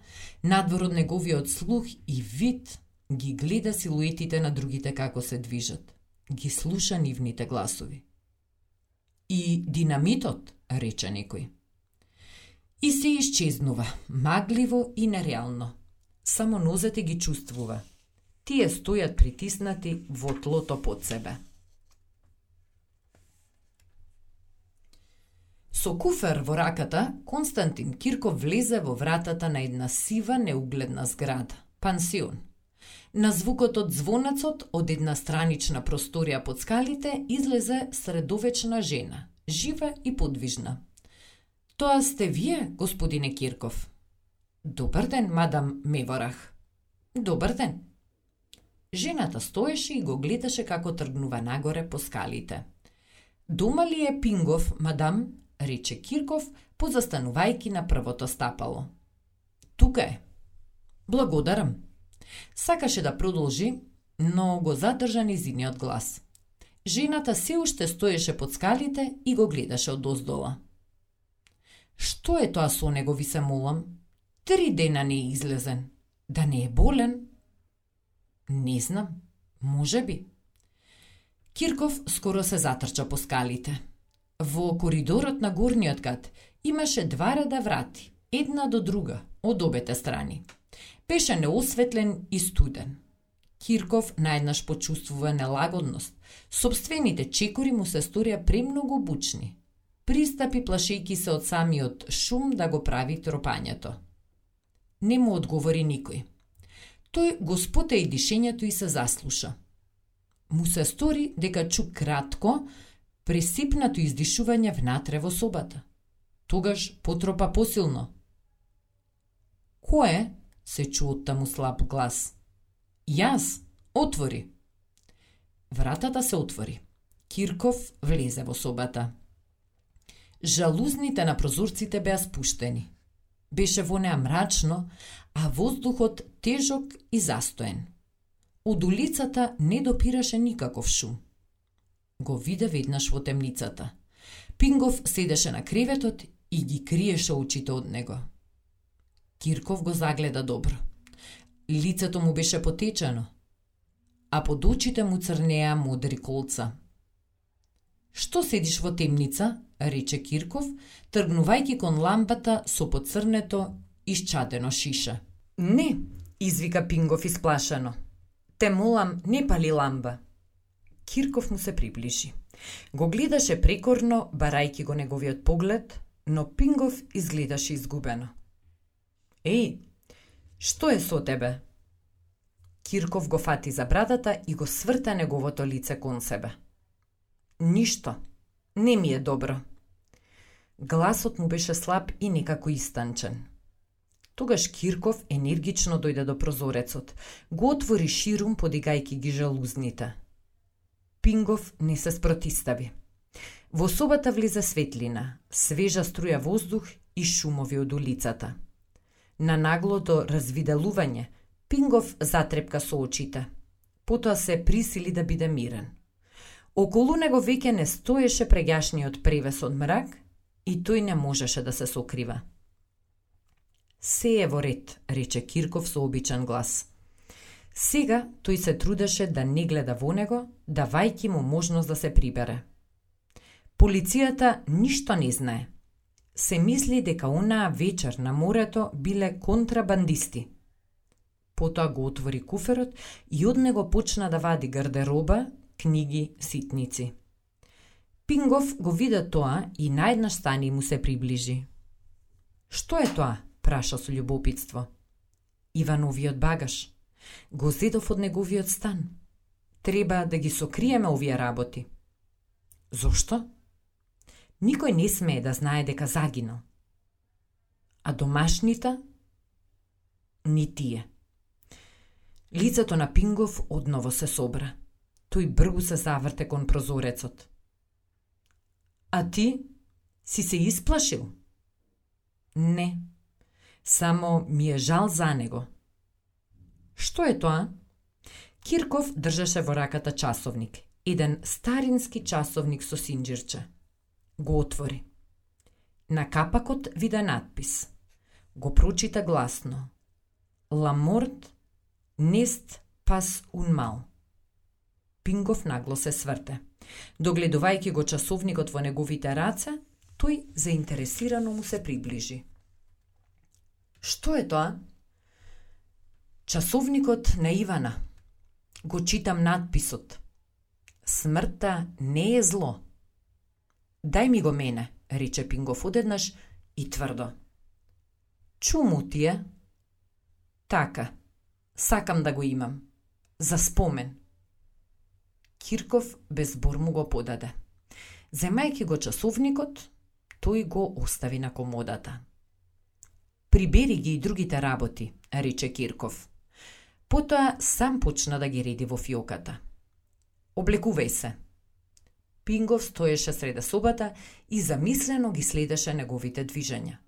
надвор од неговиот слух и вид, ги гледа силуетите на другите како се движат. Ги слуша нивните гласови. И динамитот, рече некој. И се исчезнува, магливо и нереално. Само нозете ги чувствува. Тие стојат притиснати во тлото под себе. Со куфер во раката, Константин Кирков влезе во вратата на една сива неугледна зграда, пансион. На звукот од звонецот од една странична просторија под скалите излезе средовечна жена, жива и подвижна. Тоа сте вие, господине Кирков? Добар ден, мадам Меворах. Добар ден. Жената стоеше и го гледаше како тргнува нагоре по скалите. Дома ли е Пингов, мадам? Рече Кирков, позастанувајки на првото стапало. Тука е. Благодарам. Сакаше да продолжи, но го задржа низиниот глас. Жената се уште стоеше под скалите и го гледаше од оздола. Што е тоа со него, ви се молам? 3 дена не е излезен. Да не е болен? Не знам, може би. Кирков скоро се затрча по скалите. Во коридорот на горниот кат имаше 2 реда врати, една до друга, од обете страни. Беше неосветлен и студен. Кирков наеднаш почувствува нелагодност. Собствените чекори му се сторија премногу бучни. Пристапи плашејки се од самиот шум да го прави тропањето. Не му одговори никој. Тој го спота и дишењето и се заслуша. Му се стори дека чу кратко, пресипнато издишување внатре во собата. Тогаш потропа посилно. Кој? Се чу од таму слаб глас. Јас, отвори. Вратата се отвори. Кирков влезе во собата. Жалузните на прозорците беа спуштени. Беше во неа мрачно, а воздухот тежок и застоен. Од улицата не допираше никаков шум. Го виде веднаш во темницата. Пингов седеше на креветот и ги криеше очите од него. Кирков го загледа добро. Лицето му беше потечено, а под очите му црнеа модри колца. Што седиш во темница? Рече Кирков, тргнувајќи кон лампата со поцрнето исчадено шише. Не, извика Пингов исплашено. Те молам, не пали ламба. Кирков му се приближи. Го гледаше прекорно, барајќи го неговиот поглед, но Пингов изгледаше изгубено. Еј, што е со тебе? Кирков го фати за брадата и го сврта неговото лице кон себе. Ништо, не ми е добро. Гласот му беше слаб и некако истанчен. Тогаш Кирков енергично дојде до прозорецот, го отвори ширум подигајќи ги жалузните. Пингов не се спротистави. Во собата влезе светлина, свежа струја воздух и шумови од улицата. На наглото развиделување, Пингов затрепка со очите. Потоа се присили да биде мирен. Околу него веќе не стоеше преѓашниот превес од мрак и тој не можеше да се сокрива. Се е во ред, рече Кирков со обичен глас. Сега тој се трудеше да не гледа во него, давајќи му можност да се прибере. Полицијата ништо не знае. Се мисли дека онаа вечер на морето биле контрабандисти. Потоа го отвори куферот и од него почна да вади гардероба, книги, ситници. Пингов го виде тоа и наеднаш стани му се приближи. Што е тоа? Праша со љубопитство. Ивановиот багаж. Го зедов од неговиот стан. Треба да ги сокриеме овие работи. Зошто? Никој не смее да знае дека загинал. А домашните? Ни тие. Лицето на Пингов одново се собра. Тој бргу се заврте кон прозорецот. А ти? Си се исплашил? Не. Само ми е жал за него. Што е тоа? Кирков држеше во раката часовник. Еден старински часовник со синџирче. Го отвори. На капакот виде надпис. Го прочита гласно. La mort n'est pas un mal. Пингов нагло се сврте. Догледувајќи го часовникот во неговите раце, тој заинтересирано му се приближи. Што е тоа? Часовникот на Ивана. Го читам надписот. Смртта не е зло. Дај ми го мене, рече Пингов одеднаш и тврдо. Чуму ти е? Така, сакам да го имам. За спомен. Кирков без збор му го подаде. Земајќи го часовникот, тој го остави на комодата. Прибери ги и другите работи, рече Кирков. Потоа сам почна да ги реди во фиоката. Облекувај се. Пингов стоеше среде собата и замислено ги следеше неговите движења.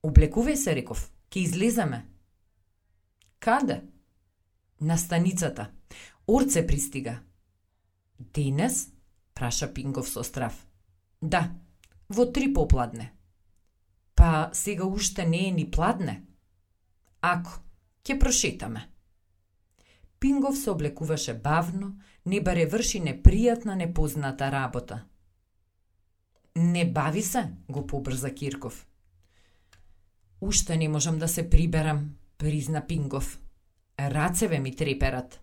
Облекувај се, реков, ќе излеземе. Каде? На станицата. Орце пристига. Денес? Праша Пингов со страв. Да, во 3 попладне. Па сега уште не е ни пладне. Ако, ќе прошетаме. Пингов се облекуваше бавно, не баре врши непријатна, непозната работа. Не бави се, го побрза Кирков. Уште не можам да се приберам, призна Пингов. Рацеве ми треперат.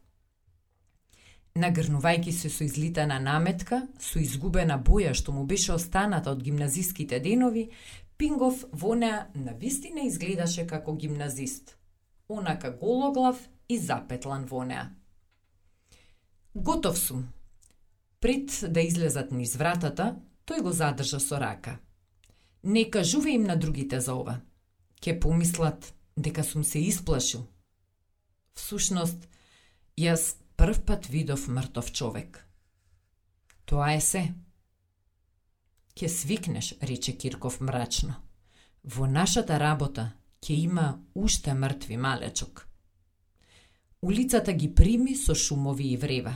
Нагрнувајќи се со излитана наметка, со изгубена боја што му беше останата од гимназиските денови, Пингов во неа навистина изгледаше како гимназист. Онака гологлав и запетлан во неа. Готов сум. Пред да излезат низ вратата, тој го задржа со рака. Не кажуве им на другите за ова. Ке помислат дека сум се исплашил. Всушност, јас прв пат видов мртов човек. Тоа е се. Ке свикнеш, рече Кирков мрачно. Во нашата работа ќе има уште мртви малечок. Улицата ги прими со шумови и врева.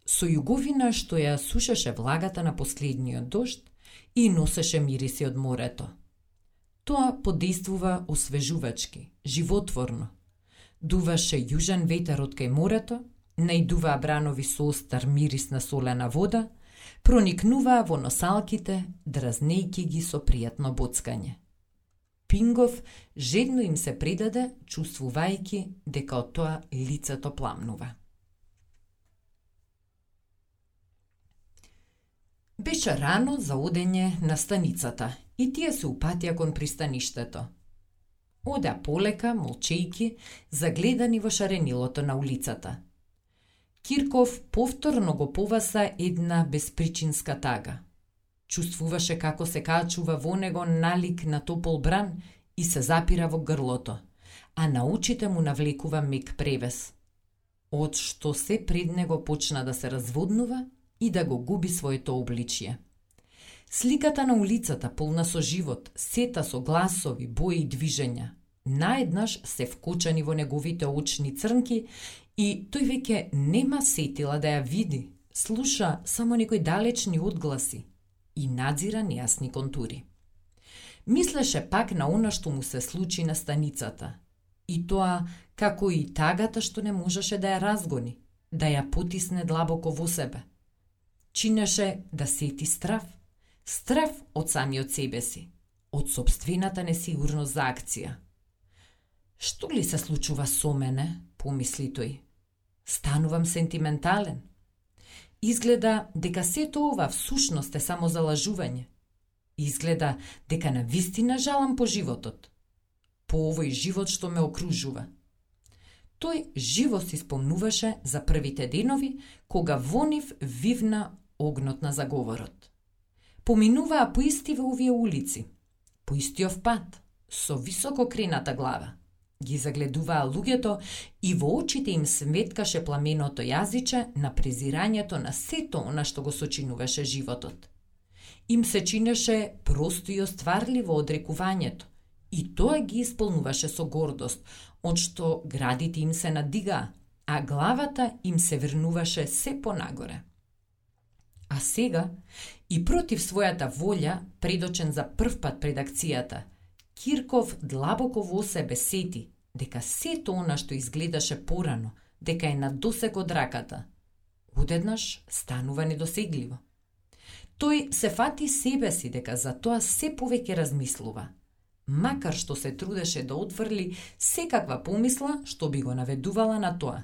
Со југовина што ја сушеше влагата на последниот дожд и носеше мириси од морето. Тоа подействува освежувачки, животворно. Дуваше јужен ветер од кај морето, наидуваа бранови со остар мирис на солена вода, проникнуваа во носалките, дразнејќи ги со пријатно боцкање. Пингов жедно им се предаде, чувствувајќи дека од тоа лицето пламнува. Беше рано за одење на станицата и тие се упатија кон пристаништето. Одеа полека, молчејки, загледани во шаренилото на улицата. Кирков повторно го поваса една безпричинска тага. Чувствуваше како се качува во него налик на топол бран и се запира во грлото, а на очите му навлекува мек превес, од што се пред него почна да се разводнува и да го губи своето обличје. Сликата на улицата, полна со живот, сета со гласови, бои и движења, наеднаш се вкочани во неговите очни црнки и тој веќе нема сетила да ја види, слуша само некои далечни одгласи и надзира нејасни контури. Мислеше пак на она што му се случи на станицата, и тоа како и тагата што не можеше да ја разгони, да ја потисне длабоко во себе. Чинеше да сети страв, страв од самиот себе си, од сопствената несигурност за акција. Што ли се случува со мене, помисли тој. Станувам сентиментален. Изгледа дека сето ова всушност е само залажување. Изгледа дека навистина жалам по животот. По овој живот што ме окружува. Тој живо си спомнуваше за првите денови, кога во нив вивна огнот на заговорот. Поминуваа по истиве овие улици, по истиот пат, со високо крената глава. Ги загледуваа луѓето и во очите им светкаше пламеното јазиче на презирањето на сето она што го сочинуваше животот. Им се чинеше просто и остварливо одрекувањето, и тоа ги исполнуваше со гордост, од што градите им се надигаа, а главата им се врнуваше се понагоре. А сега, и против својата волја, предочен за првпат пред акцијата, Кирков длабоко во себе сети дека сето она што изгледаше порано, дека е на досег од раката, одеднаш станува недосегливо. Тој се фати себе си дека за тоа се повеќе размислува, макар што се трудеше да отврли секаква помисла што би го наведувала на тоа.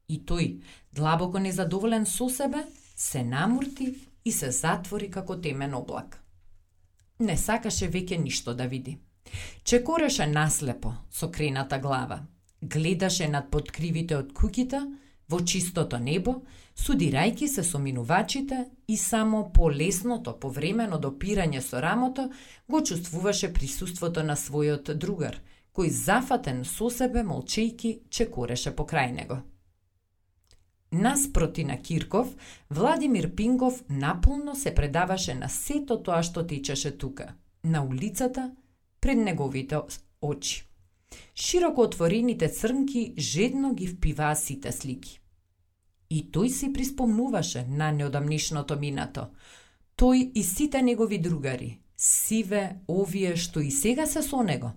И тој, длабоко незадоволен со себе, се намурти и се затвори како темен облак. Не сакаше веќе ништо да види. Чекореше наслепо со крената глава, гледаше над подкривите од куќите во чистото небо, судирајќи се со минувачите и само по лесното повремено допирање со рамото го чувствуваше присуството на својот другар, кој зафатен со себе молчејки чекореше покрај него. Наспроти на Кирков, Владимир Пингов наполно се предаваше на сето тоа што течеше тука, на улицата, пред неговите очи. Широко отворените црнки жедно ги впиваа сите слики. И тој си приспомнуваше на неодамнишното минато. Тој и сите негови другари, сиве, овие што и сега се со него.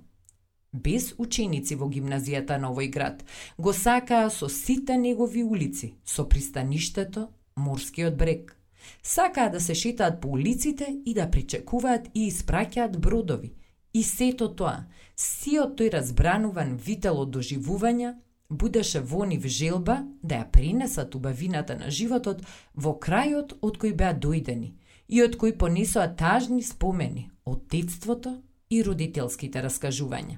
без ученици во гимназијата на овој град. Го сакаа со сите негови улици, со пристаништето, морскиот брег. Сакаа да се шетаат по улиците и да причекуваат и испраќаат бродови. И сето тоа, сиот тој разбрануван вител од доживувања, будеше во нив желба да ја пренесат убавината на животот во крајот од кој беа дојдени и од кој понесоа тажни спомени од детството и родителските раскажувања.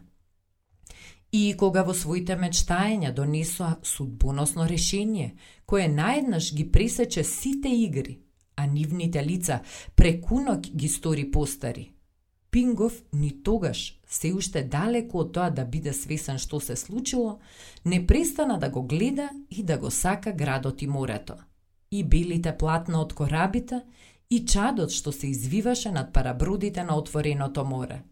И кога во своите мечтаења донесоа судбоносно решение, кое наеднаш ги пресече сите игри, а нивните лица преку ноќ ги стори постари, Пингов ни тогаш, се уште далеку од тоа да биде свесен што се случило, не престана да го гледа и да го сака градот и морето, и белите платна од корабите, и чадот што се извиваше над парабродите на отвореното море.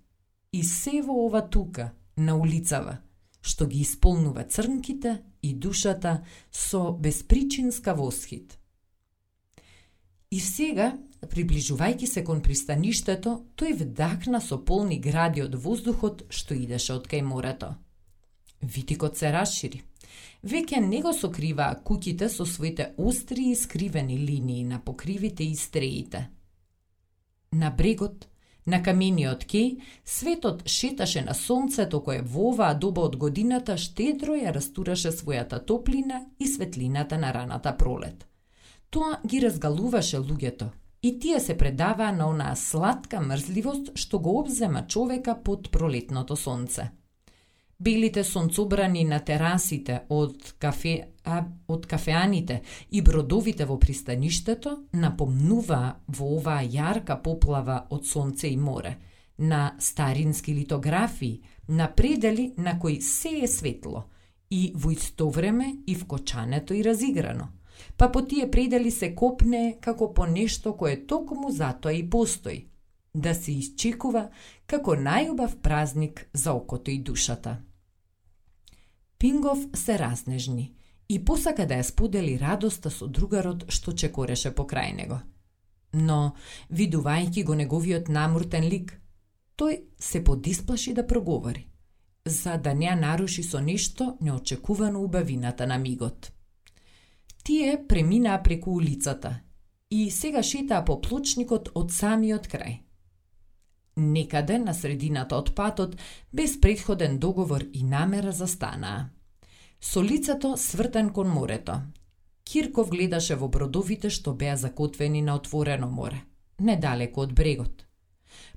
И се во ова тука, на улицава, што ги исполнува црнките и душата со безпричинска восхит. И сега, приближувајќи се кон пристаништето, тој вдахна со полни гради од воздухот што идеше од кај морето. Витикот се расшири. Веќе не го сокриваа куќите со своите остри и скривени линии на покривите и стреите. На брегот, на камениот кеј, светот шеташе на сонцето кое во оваа доба од годината штедро ја растураше својата топлина и светлината на раната пролет. Тоа ги разгалуваше луѓето и тие се предаваа на онаа сладка мрзливост што го обзема човека под пролетното сонце. Белите сонцобрани на терасите од кафеаните и бродовите во пристаништето напомнуваа во оваа јарка поплава од сонце и море, на старински литографии, на предели на кои се е светло и во исто време и вкочането и разиграно. Па по тие предели се копне како по нешто кое токму затоа и постои, да се исчекува како најубав празник за окото и душата. Пингов се разнежни и посака да ја сподели радоста со другарот што чекореше покрај него. Но, видувајќи го неговиот намуртен лик, тој се подисплаши да проговори, за да не ја наруши со нешто неочекувано убавината на мигот. Тие преминаа преку улицата и сега шетаа по плочникот од самиот крај. Некаде на средината од патот, без претходен договор и намера застанаа. Со лицето свртен кон морето. Кирков гледаше во бродовите што беа закотвени на отворено море, недалеку од брегот.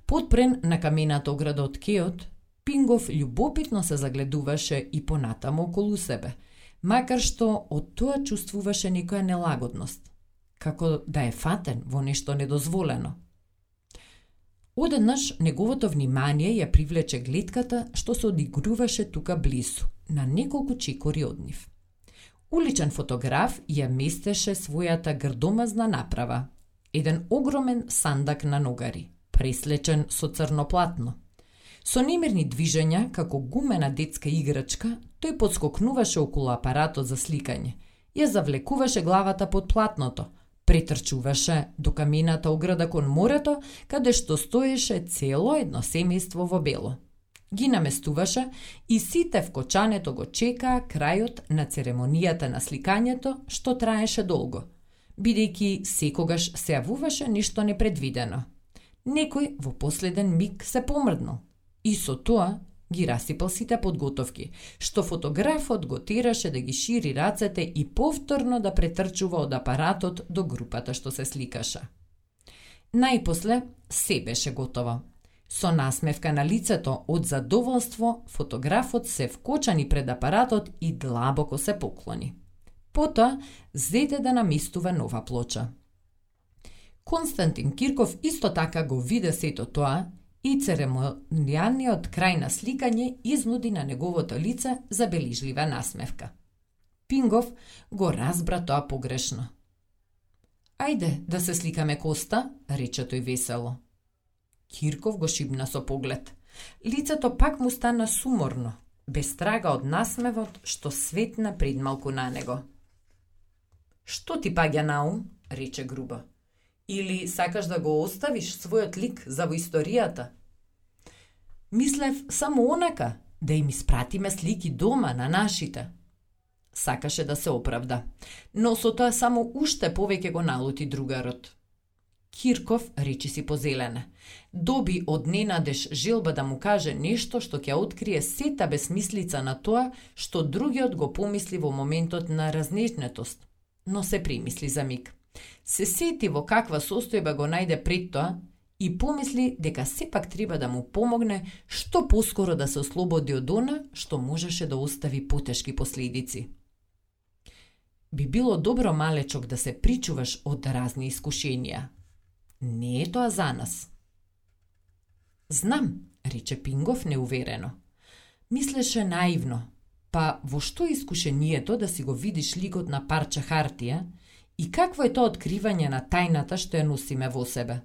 Подпрен на камената ограда од кеот, Пингов љубопитно се загледуваше и понатаму околу себе, макар што од тоа чувствуваше некоја нелагодност, како да е фатен во нешто недозволено. Одеднаш неговото внимание ја привлече гледката што се одигруваше тука близу, на неколку чекори од нив. Уличен фотограф ја местеше својата грдомазна направа, еден огромен сандак на ногари, преслечен со црно платно. Со немирни движења, како гумена детска играчка, тој подскокнуваше околу апаратот за сликање, ја завлекуваше главата под платното, претрчуваше до камената ограда кон морето, каде што стоеше цело едно семејство во бело. Ги наместуваше и сите в кочането го чекаа крајот на церемонијата на сликањето, што траеше долго, бидејќи секогаш се јавуваше нешто непредвидено. Некој во последен миг се помрднал и со тоа ги расипал сите подготовки, што фотографот го тераше да ги шири рацете и повторно да претрчува од апаратот до групата што се сликаше. Најпосле се беше готово. Со насмевка на лицето од задоволство, фотографот се вкочани пред апаратот и длабоко се поклони. Потоа зеде да наместува нова плоча. Константин Кирков исто така го виде сето тоа и церемонијалниот крај на сликање изнуди на неговото лице забележлива насмевка. Пингов го разбра тоа погрешно. Ајде да се сликаме, Коста, рече тој весело. Кирков го шибна со поглед. Лицето пак му стана суморно, без трага од насмевот што светна пред малку на него. Што ти паѓа на ум, рече грубо. Или сакаш да го оставиш својот лик за во историјата? Мислев само онака, да им испратиме слики дома на нашите. Сакаше да се оправда, но со тоа само уште повеќе го налути другарот. Кирков речи си позелене. Доби од ненадеж желба да му каже нешто што ќе открие сета безмислица на тоа што другиот го помисли во моментот на разнежнетост, но се примисли за миг. Се сети во каква состојба го најде пред тоа и помисли дека сепак треба да му помогне што поскоро да се ослободи од она што можеше да остави потешки последици. Би било добро, малечок, да се причуваш од разни искушенија. Не е тоа за нас. Знам, рече Пингов неуверено. Мислеше наивно, па во што искушението да си го видиш ликот на парче хартија и какво е тоа откривање на тајната што ја носиме во себе?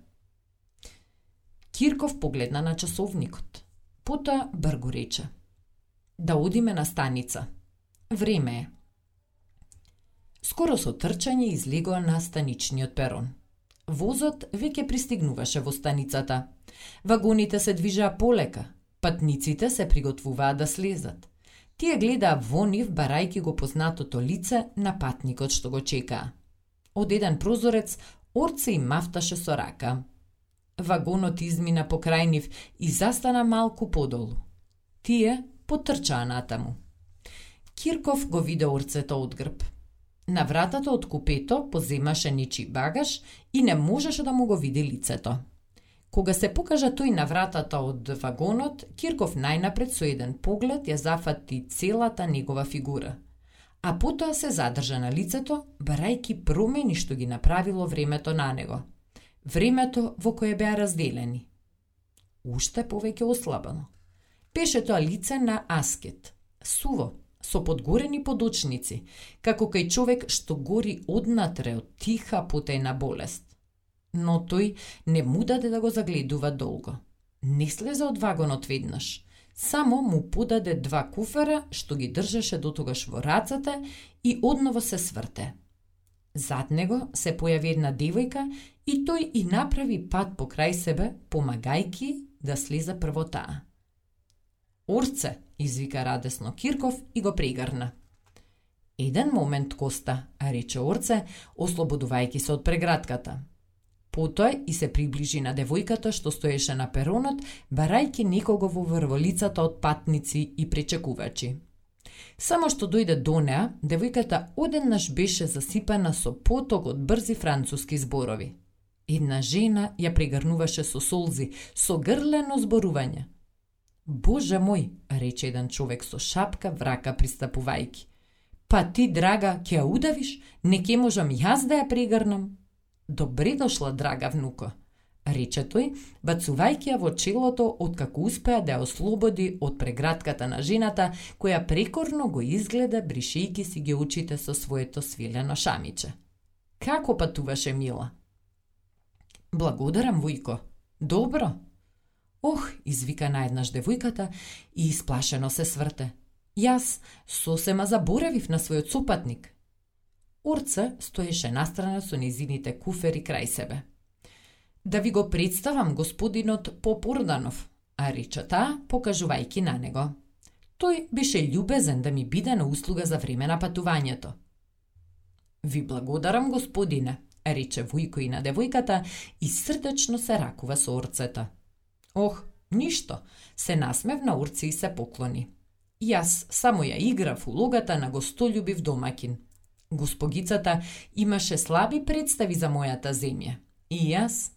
Кирков погледна на часовникот. Потоа бргу рече. Да одиме на станица. Време е. Скоро со трчање излегоа на станичниот перон. Возот веќе пристигнуваше во станицата. Вагоните се движаа полека. Патниците се приготвуваа да слезат. Тие гледаа во нив, барајки го познатото лице на патникот што го чекаа. Од еден прозорец Орце им мафташе со рака. Вагонот измина покрај нив и застана малку подолу. Тие потрчаа натаму. Кирков го виде Орцето од грб. На вратата од купето поземаше нечи багаж и не можеше да му го види лицето. Кога се покажа тој на вратата од вагонот, Кирков најнапред со еден поглед ја зафати целата негова фигура, а потоа се задржа на лицето, барајки промени што ги направило времето на него. Времето во кое беа разделени. Уште повеќе ослабено. Беше тоа лице на аскет, суво, со подгорени подочници, како кај човек што гори однатре од тиха потајна болест. Но тој не му даде да го загледува долго. Не слезе од вагонот веднаш. Само му подаде 2 куфера што ги држеше дотогаш во рацете и одново се сврте. Зад него се појави една девојка и тој и направи пат покрај себе, помагајки да слезе прво таа. Орце, извика радесно Кирков и го прегрна. Еден момент, Коста, рече Орце, ослободувајќи се од прегратката. Потоа и се приближи на девојката што стоеше на перонот, барајќи некого во врволицата од патници и пречекувачи. Само што дојде до неа, девојката одеднаш беше засипана со поток од брзи француски зборови. Една жена ја прегрнуваше со солзи, со грлено зборување. Боже мој, рече еден човек со шапка врака пристапувајќи. Па ти, драга, ќе ја удавиш? Не ке можам јас да ја прегрнам? Добре дошла, драга внуко, рече тој, бацувајќи ја во челото откако успеа да ја ослободи од прегратката на жената, која прекорно го изгледа бришејќи си ги очите со своето свилено шамиче. Како патуваше, мила? Благодарам, вујко. Добро. Ох, извика наеднаш девојката и исплашено се сврте. Јас сосема заборавив на својот сопатник. Орце стоеше настрана со незините куфери крај себе. Да ви го представам господинот Попорданов, а рече таа, покажувајќи на него. Тој беше љубезен да ми биде на услуга за време на патувањето. Ви благодарам, господине, рече Вујко и на девојката и срдечно се ракува со Орцето. Ох, ништо, се насмевна Орце и се поклони. Јас само ја играв улогата на гостолюбив домакин. Госпогицата имаше слаби представи за мојата земја. И јас...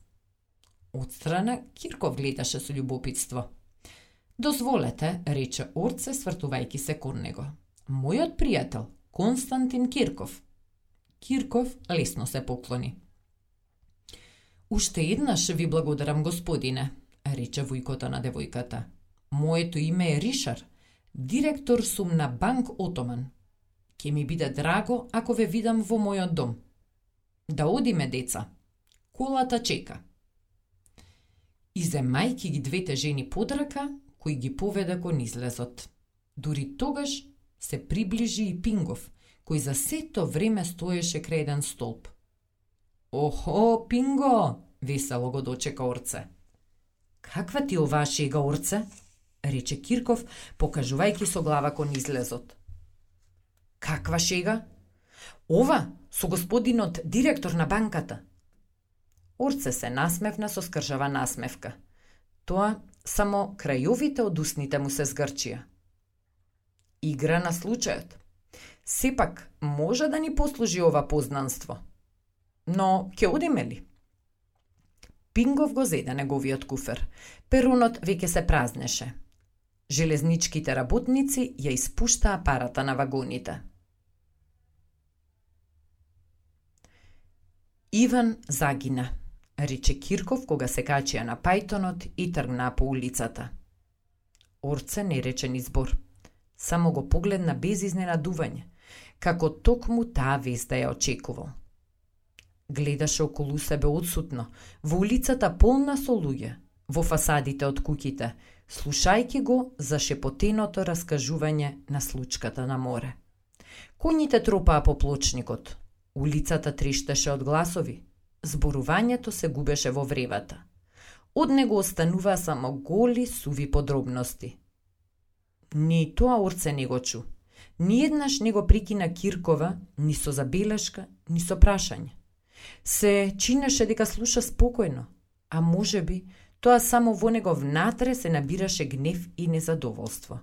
Отстрана Кирков гледаше со љубопитство. Дозволете, рече Орце, свртувајќи се кон него. Мојот пријател, Константин Кирков. Кирков лесно се поклони. Уште еднаш ви благодарам, господине, рече вујкото на девојката. Моето име е Ришар, директор сум на Банк Отоман. Ке ми биде драго ако ве видам во мојот дом. Да одиме, деца. Колата чека. И земајки ги двете жени под рака, кои ги поведе кон излезот. Дури тогаш се приближи и Пингов, кој за сето време стоеше крај еден столб. Охо, Пинго, весело го дочека Орце. Каква ти оваа шега, Орце? рече Кирков, покажувајќи со глава кон излезот. Каква шега? Ова, со господинот директор на банката. Орце се насмевна со скржава насмевка. Тоа само крајовите од устните му се згрчија. Игра на случајот. Сепак, може да ни послужи ова познанство. Но, ќе одиме ли? Пингов го зеде неговиот куфер. Перунот веќе се празнеше. Железничките работници ја испуштаа парата на вагоните. Иван загина, рече Кирков кога се качија на пајтонот и тргна по улицата. Орце не рече ни збор. Само го погледна без изненадување, како токму таа веста ја очекувал. Гледаше околу себе одсутно, во улицата полна со луѓе, во фасадите од куќите, слушајќи го за шепотеното раскажување на случката на море. Коњите тропаа по плочникот, улицата трештеше од гласови, зборувањето се губеше во вревата. Од него остануваа само голи суви подробности. Ни тоа Орце не го чу. Ниеднаш не го прекина Киркова ни со забелешка, ни со прашање. Се чинеше дека слуша спокојно, а можеби тоа само во него внатре се набираше гнев и незадоволство.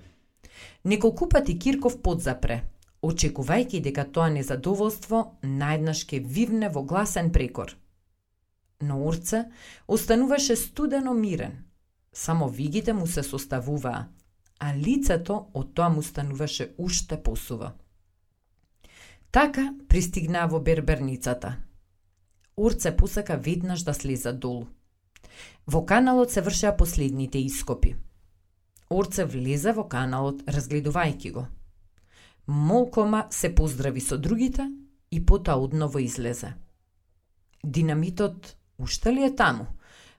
Неколку пати Кирков подзапре, очекувајќи дека тоа незадоволство наеднаш ќе вивне во гласен прекор. Но Орце остануваше студено мирен. Само вигите му се составуваа, а лицето од тоа му стануваше уште посува. Така пристигна во берберницата. Орце посака веднаш да слезе долу. Во каналот се вршеа последните ископи. Орце влезе во каналот, разгледувајќи го. Молкома се поздрави со другите и потоа одново излезе. Динамитот уште ли е таму?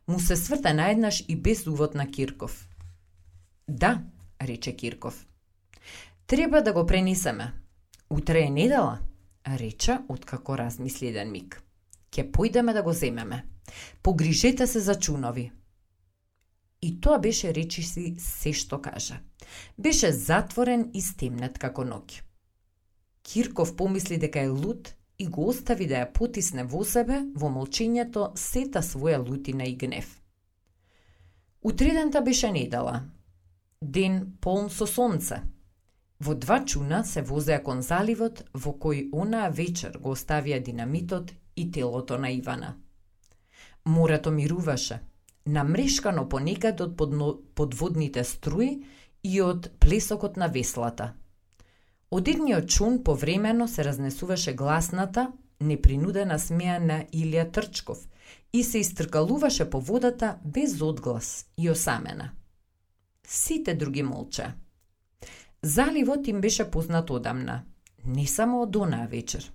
Му се сврта наеднаш и без увод на Кирков. Да, рече Кирков. Треба да го пренесеме. Утре е недела, рече откако размисли еден миг. Ке појдеме да го земеме. Погрижете се за чунови. И тоа беше речиси се што кажа. Беше затворен и стемнет како ноќ. Кирков помисли дека е луд и го остави да ја потисне во себе во молчењето сета своја лутина и гнев. Утредента беше недела. Ден полн со сонце. Во 2 чуна се возеа кон заливот во кој онаа вечер го оставија динамитот и телото на Ивана. Морето мируваше, намрешкано понекад од подводните струи и од плесокот на веслата. Од едниот чун повремено се разнесуваше гласната, непринудена смеа на Илија Трчков и се истркалуваше по водата без одглас и осамена. Сите други молча. Заливот им беше познат одамна, не само од онаа вечер.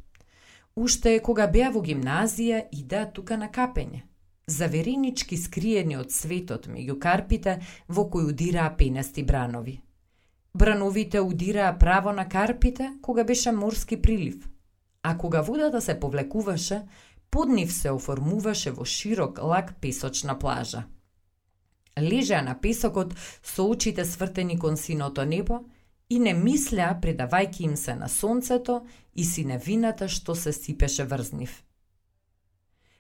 Уште кога беа во гимназија идеа тука на капење, заверенички скриени од светот меѓу карпите во кои удираа пенести бранови. Брановите удираа право на карпите кога беше морски прилив, а кога водата се повлекуваше, под нив се оформуваше во широк лак песочна плажа. Лежеа на песокот со очите свртени кон синото небо и не мислеа предавајќи им се на сонцето и синевината што се сипеше врз нив.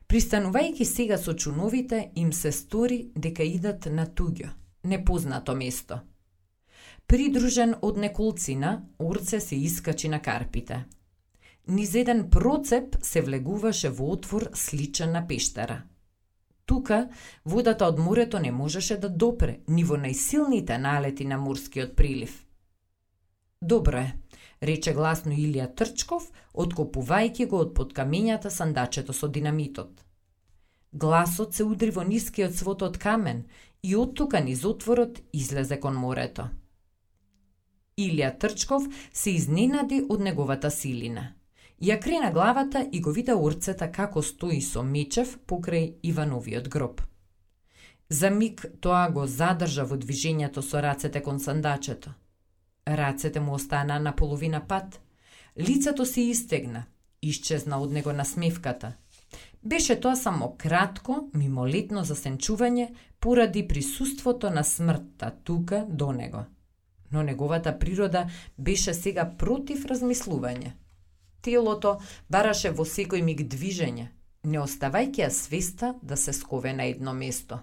Пристанувајќи сега со чуновите, им се стори дека идат на туѓо, непознато место. Придружен од неколцина, Орце се искачи на карпите. Низ еден процеп се влегуваше во отвор сличен на пештера. Тука водата од морето не можеше да допре ни во најсилните налети на морскиот прилив. Добро е, рече гласно Илија Трчков, откопувајќи го од под камењата сандачето со динамитот. Гласот се удри во нискиот свод од камен и од тука низ отворот излезе кон морето. Илија Трчков се изненади од неговата силина. Ја крена главата и го вида Орцета како стои со мечев покрај Ивановиот гроб. За миг тоа го задржа во движењето со рацете кон сандачето. Рацете му остана на половина пат. Лицето се истегна, исчезна од него насмевката. Беше тоа само кратко, мимолетно засенчување поради присуството на смртта тука до него. Но неговата природа беше сега против размислување. Телото бараше во секој миг движење, не оставајќи ја свеста да се скове на едно место.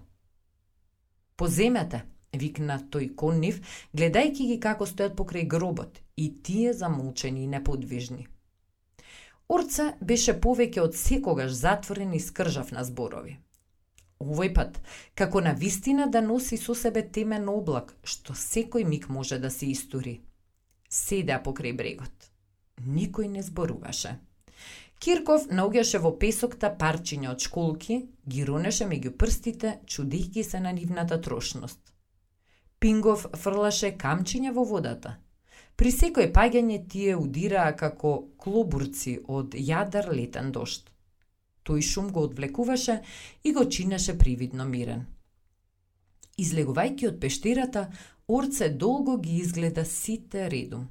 Поземете, викна тој кон нив, гледајќи ги како стојат покрај гробот, и тие замолчени и неподвижни. Орца беше повеќе од секогаш затворен и скржав на зборови. Овој пат, како на вистина да носи со себе темен облак, што секој миг може да се истури. Седеа покрај брегот. Никој не зборуваше. Кирков наоѓаше во песокта парчиња од школки, ги ронеше меѓу прстите, чудејќи се на нивната трошност. Пингов фрлаше камчиња во водата. При секој паѓање тие удираа како клобурци од јадар летен дожд. Тој шум го одвлекуваше и го чинеше привидно мирен. Излегувајќи од пештерата, Орце долго ги изгледа сите редум.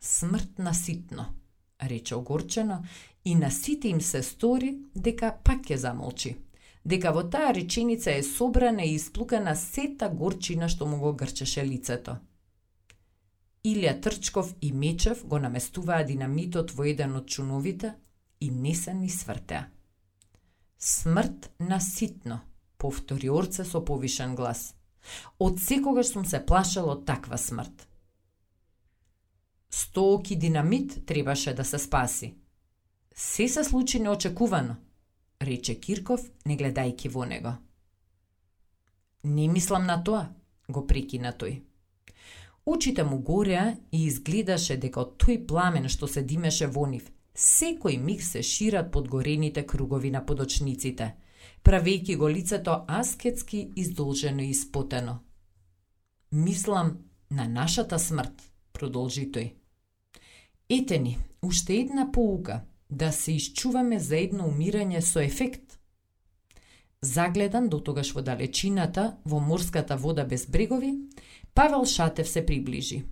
Смрт наситно, рече огорчено, и на сите им се стори дека пак ќе замолчи, дека во таа реченица е собрана и исплукана сета горчина што му го грчеше лицето. Илија Трчков и Мечев го наместуваа динамитот во еден од чуновите и не се ни свртеа. Смрт наситно, повтори Орце со повишен глас. Од секогаш сум се плашал од таква смрт. 100 оки динамит требаше да се спаси. Се случи неочекувано, рече Кирков, не гледајќи во него. Не мислам на тоа, го прекина тој. Очите му гореа и изгледаше дека од тој пламен што се димеше во нив, секој миг се шират подгорените кругови на подочниците, правејќи го лицето аскетски издолжено и испотено. Мислам на нашата смрт, продолжи тој. Ете ни, уште една поука, да се исчуваме за едно умирање со ефект. Загледан дотогаш во далечината, во морската вода без брегови, Павел Шатев се приближи.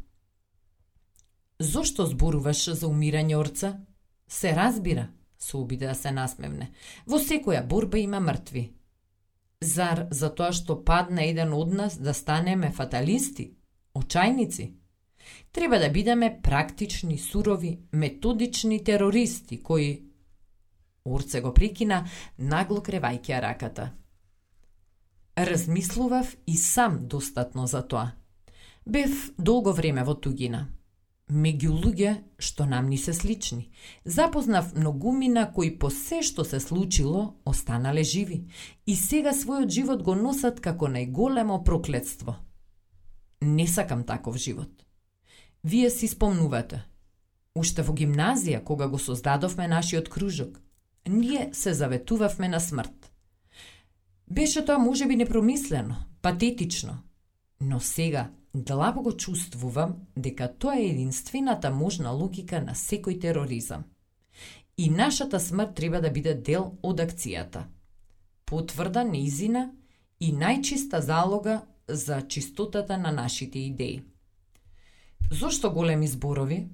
Зошто зборуваш за умирање, Орца? Се разбира, се обиде да се насмевне. Во секоја борба има мртви. Зар за тоа што падна еден од нас да станеме фаталисти, очајници? Треба да бидеме практични, сурови, методични терористи кои... Орце го прекина, нагло кревајќи раката. Размислував и сам достатно за тоа. Бев долго време во тугина. Меѓу луѓе што нам ни се слични. Запознав многумина кои по се што се случило останале живи и сега својот живот го носат како најголемо проклетство. Не сакам таков живот. Вие си спомнувате. Уште во гимназија, кога го создадовме нашиот кружок, ние се заветувавме на смрт. Беше тоа можеби непромислено, патетично, но сега длабоко го чувствувам дека тоа е единствената можна логика на секој тероризам. И нашата смрт треба да биде дел од акцијата. Потврда неизина и најчиста залога за чистотата на нашите идеи. Зошто големи зборови?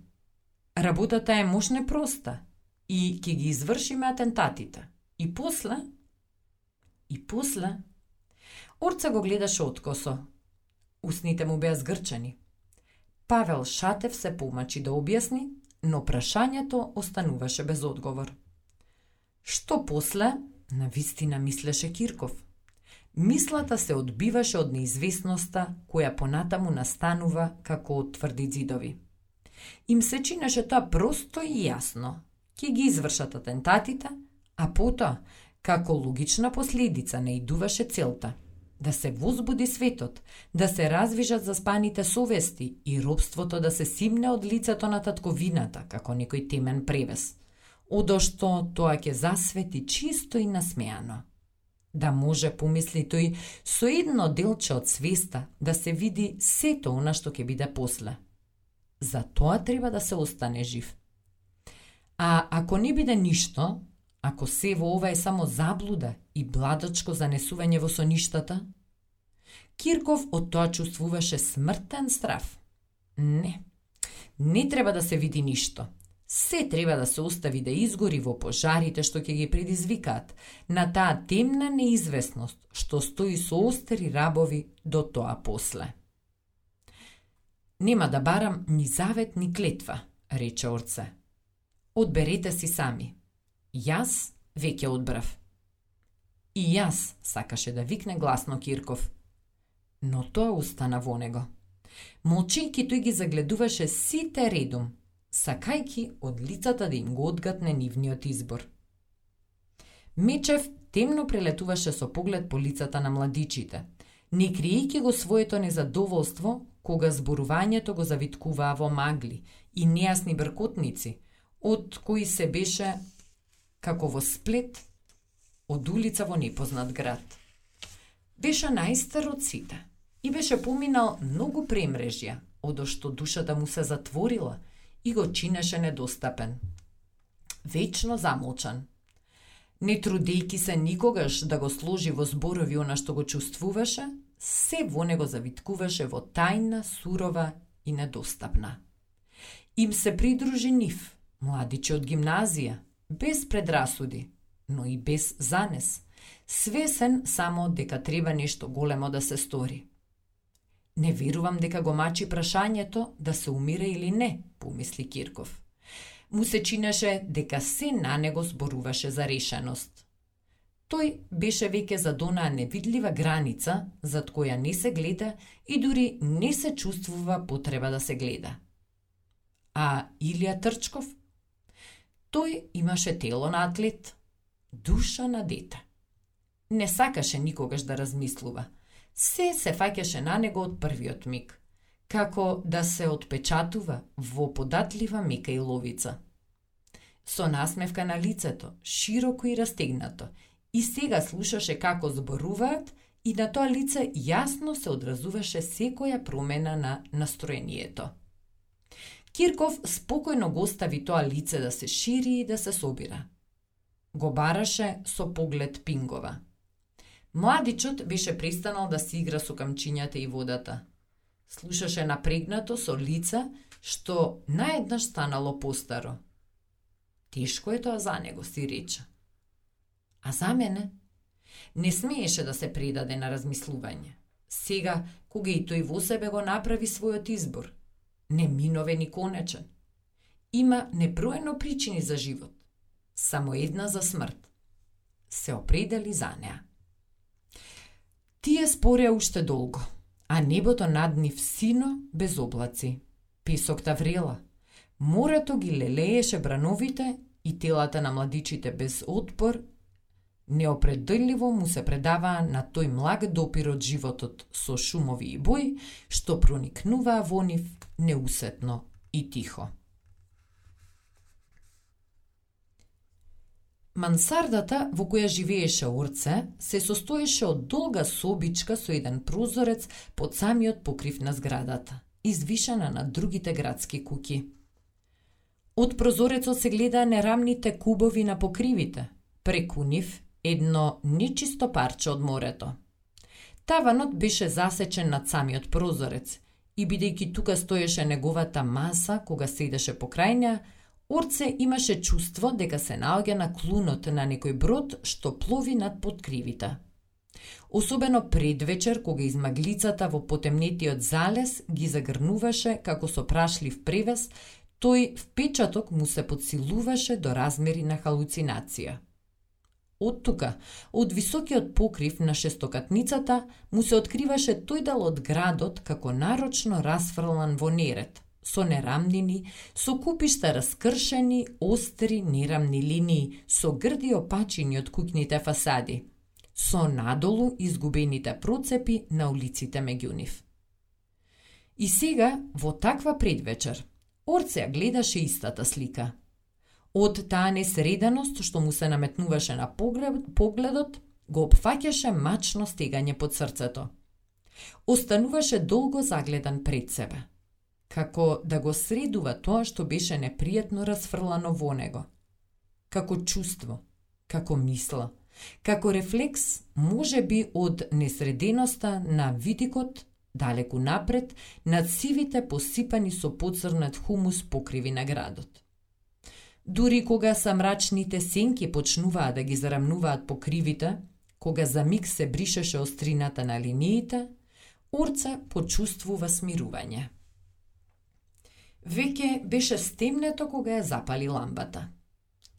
Работата е можна проста и ќе ги извршиме атентатите. И после... Орца го гледаше откосо. Усните му беа згрчани. Павел Шатев се помачи да објасни, но прашањето остануваше без одговор. Што после? Навистина мислеше Кирков. Мислата се одбиваше од неизвестноста, која понатаму настанува како од тврди ѕидови. Им се чинеше тоа просто и јасно. Ќе ги извршат атентатите, а потоа, како логична последица, наидуваше целта да се возбуди светот, да се развижат заспаните совести и робството да се симне од лицето на татковината, како некој темен превес, одошто тоа ќе засвети чисто и насмеано. Да може, помисли тој, со едно делче од свеста да се види сето она што ќе биде после. За тоа треба да се остане жив. А ако не биде ништо, ако се во ова е само заблуда и бладачко занесување во соништата? Кирков од тоа чувствуваше смртен страв. Не треба да се види ништо. Се треба да се остави да изгори во пожарите што ќе ги предизвикаат, на таа темна неизвестност што стои со остри рабови до тоа после. Нема да барам ни завет ни клетва, рече Орце. Одберете си сами. Јас веќе одбрав. И јас, сакаше да викне гласно Кирков. Но тоа остана во него. Молчејќи тој ги загледуваше сите редум, сакајки од лицата да им го одгатне нивниот избор. Мечев темно прелетуваше со поглед по лицата на младичите, не криејќи го своето незадоволство кога зборувањето го завиткуваа во магли и нејасни бркотници, од кои се беше како во сплет од улица во непознат град. Беше најстар од сите и беше поминал многу премрежја, одошто душата му се затворила и го чинеше недостапен. Вечно замолчан. Не трудејќи се никогаш да го сложи во зборови она што го чувствуваше, се во него завиткуваше во тајна, сурова и недостапна. Им се придружи нив, младиче од гимназија, без предрасуди, но и без занес, свесен само дека треба нешто големо да се стори. Не верувам дека го мачи прашањето да се умира или не, помисли Кирков. Му се чинеше дека се на него зборуваше за решеност. Тој беше веќе за онаа невидлива граница, зад која не се гледа и дури не се чувствува потреба да се гледа. А Илија Трчков? Тој имаше тело на атлет, душа на дете. Не сакаше никогаш да размислува. Се фаќаше на него од првиот миг, како да се отпечатува во податлива мека и ловица. Со насмевка на лицето, широко и растегнато, и сега слушаше како зборуваат и на тоа лице јасно се одразуваше секоја промена на настроението. Кирков спокојно го остави тоа лице да се шири и да се собира. Го бараше со поглед пингова. Младичот беше престанал да си игра со камчињата и водата. Слушаше напрегнато со лице што наеднаш станало постаро. Тешко е тоа за него, си рече. А за мене? Не смееше да се предаде на размислување. Сега, кога и тој во себе го направи својот избор, неминовен и конечен. Има неброено причини за живот, само една за смрт. Се определи за неа. Тие спореа уште долго, а небото над нив сино без облаци. Песокта врела, морето ги лелееше брановите и телата на младичите без отпор неопределливо му се предаваа на тој млаг допир од животот со шумови и бои, што проникнуваа во нив неусетно и тихо. Мансардата во која живееше Орце се состоеше од долга собичка со еден прозорец под самиот покрив на зградата, извишена на другите градски куќи. Од прозорецот се гледаа нерамните кубови на покривите, преку нив едно нечисто парче од морето. Таванот беше засечен над самиот прозорец и бидејќи тука стоеше неговата маса кога седеше покрај неа, Орце имаше чувство дека се наоѓа на клунот на некој брод што плови над подкривите. Особено предвечер, кога измаглицата во потемнетиот залез ги загрнуваше како со прашлив превес, тој впечаток му се подсилуваше до размери на халуцинација. Од тука, од високиот покрив на шестокатницата, му се откриваше тој дел од градот како нарочно расфрлан во неред, со нерамнини, со купишта раскршени, остри, нерамни линии, со грди опачини од куќните фасади, со надолу изгубените процепи на улиците меѓу нив. И сега, во таква предвечер, Орце гледаше истата слика. Од таа несреденост што му се наметнуваше на погледот, го опфаќаше мачно стегање под срцето. Остануваше долго загледан пред себе, како да го средува тоа што беше непријатно расфрлано во него. Како чувство, како мисла, како рефлекс, може би од несреденоста на видикот, далеку напред, над сивите посипани со поцрнат хумус покриви на градот. Дури кога са мрачните сенки почнуваа да ги зарамнуваат по кривите, кога за миг се бришеше острината на линиите, Урце почувствува смирување. Веќе беше стемнето кога ја запали ламбата.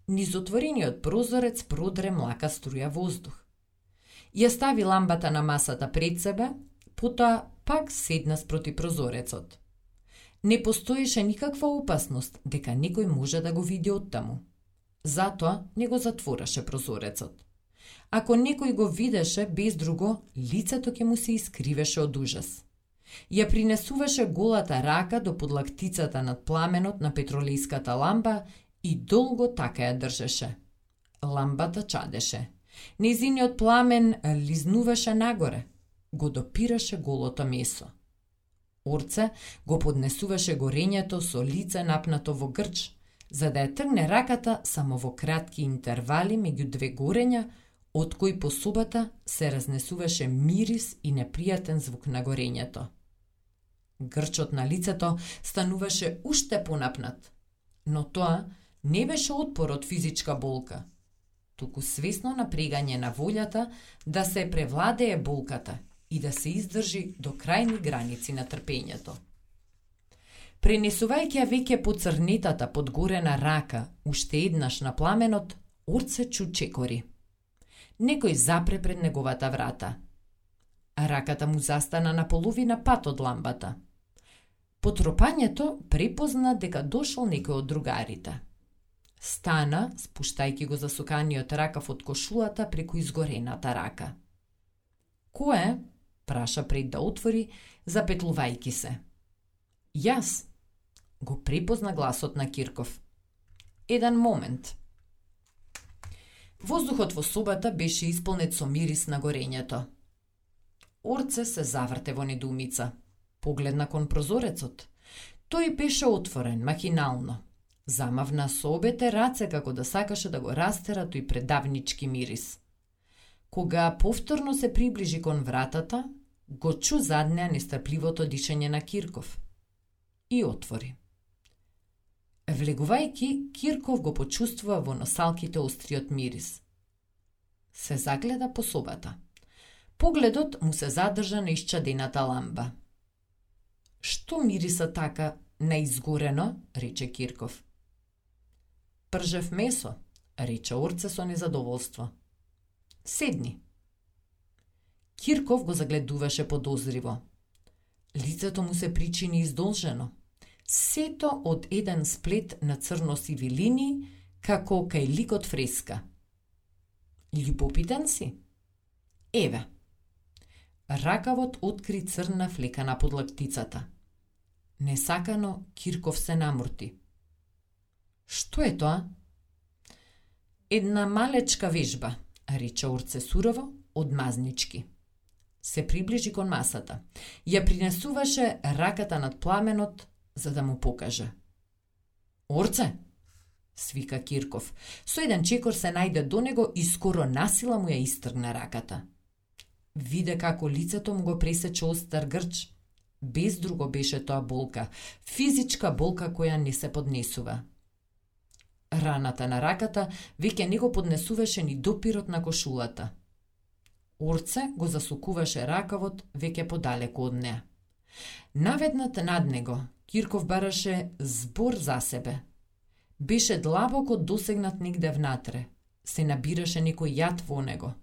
Низ отворениот прозорец продре млака струја воздух. Ја стави ламбата на масата пред себе, потоа пак седна спроти прозорецот. Не постоеше никаква опасност дека некој може да го види оттаму. Затоа не го затвораше прозорецот. Ако некој го видеше, без друго, лицето ќе му се искривеше од ужас. Ја принесуваше голата рака до подлактицата над пламенот на петролејската ламба и долго така ја држеше. Ламбата чадеше. Нејзиниот пламен лизнуваше нагоре, го допираше голото месо. Урце го поднесуваше горењето со лице напнато во грч, за да ја тргне раката само во кратки интервали меѓу две горења, од кои по собата се разнесуваше мирис и непријатен звук на горењето. Грчот на лицето стануваше уште понапнат, но тоа не беше отпор од физичка болка, туку свесно напрегање на волјата да се превладее болката и да се издржи до крајни граници на трпењето. Пренесувајќи ја веќе поцрнетата подгорена рака уште еднаш на пламенот, Урце чу чекори. Некој запре пред неговата врата. Раката му застана на половина пат од ламбата. По тропањето препозна дека дошол некој од другарите. Стана, спуштајќи го засуканиот ракав од кошулата преку изгорената рака. Кој? Праша пред да отвори, запетлувајќи се. Јас, го препозна гласот на Кирков. Еден момент. Воздухот во собата беше исполнет со мирис на горењето. Урце се заврте во недоумица. Погледна кон прозорецот. Тој беше отворен, махинално. Замавна со обете раце како да сакаше да го растера тој предавнички мирис. Кога повторно се приближи кон вратата, го чу заднеа нестрпливото дишење на Кирков. И отвори. Влегувајќи, Кирков го почувствува во носалките остриот мирис. Се загледа по собата. Погледот му се задржа на исчадената ламба. Што мириса така неизгорено, рече Кирков. Пржев месо, рече Урце со незадоволство. Седни. Кирков го загледуваше подозриво. Лицето му се причини издолжено. Сето од еден сплет на црно-сиви линии, како кај ликот фреска. Љубопитен си? Еве. Ракавот откри црна флека на подлактицата. Несакано Кирков се намурти. Што е тоа? Една малечка вежба, рече Урце сурово, одмазнички. Се приближи кон масата. Ја принесуваше раката над пламенот, за да му покаже. Урце, свика Кирков. Со еден чекор се најде до него и скоро насила му ја истргна раката. Виде како лицето му го пресече остар грч. Без друго беше тоа болка, физичка болка која не се поднесува. Раната на раката веќе не го поднесуваше ни допирот на кошулата. Урце го засукуваше ракавот веќе подалеку од неа. Наведнат над него, Кирков бараше збор за себе. Беше длабоко досегнат негде внатре. Се набираше некој јад во него.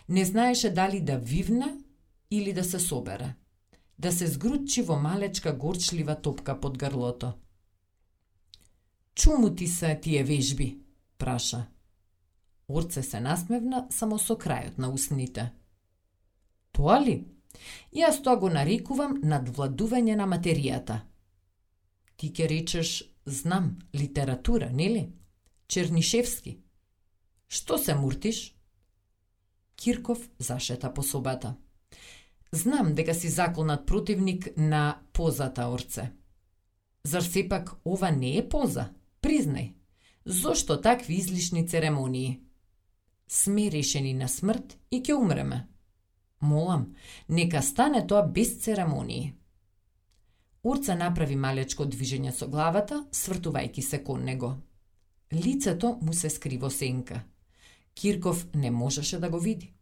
Не знаеше дали да вивне или да се собере. Да се згрутчи во малечка горчлива топка под грлото. Чуму ти се тие вежби? Праша. Урце се насмевна само со крајот на усните. Тоа ли? Јас тоа го нарекувам надвладување на материјата. Ти ке речеш, знам, литература, нели? Чернишевски. Што се муртиш? Кирков зашета по собата. Знам дека си заколнат противник на позата, Урце. Зар сепак ова не е поза? Признај. Зошто такви излишни церемонии? Сме решени на смрт и ќе умреме. Молам, нека стане тоа без церемонии. Урце направи малечко движење со главата, свртувајќи се кон него. Лицето му се скри во сенка. Кирков не можеше да го види.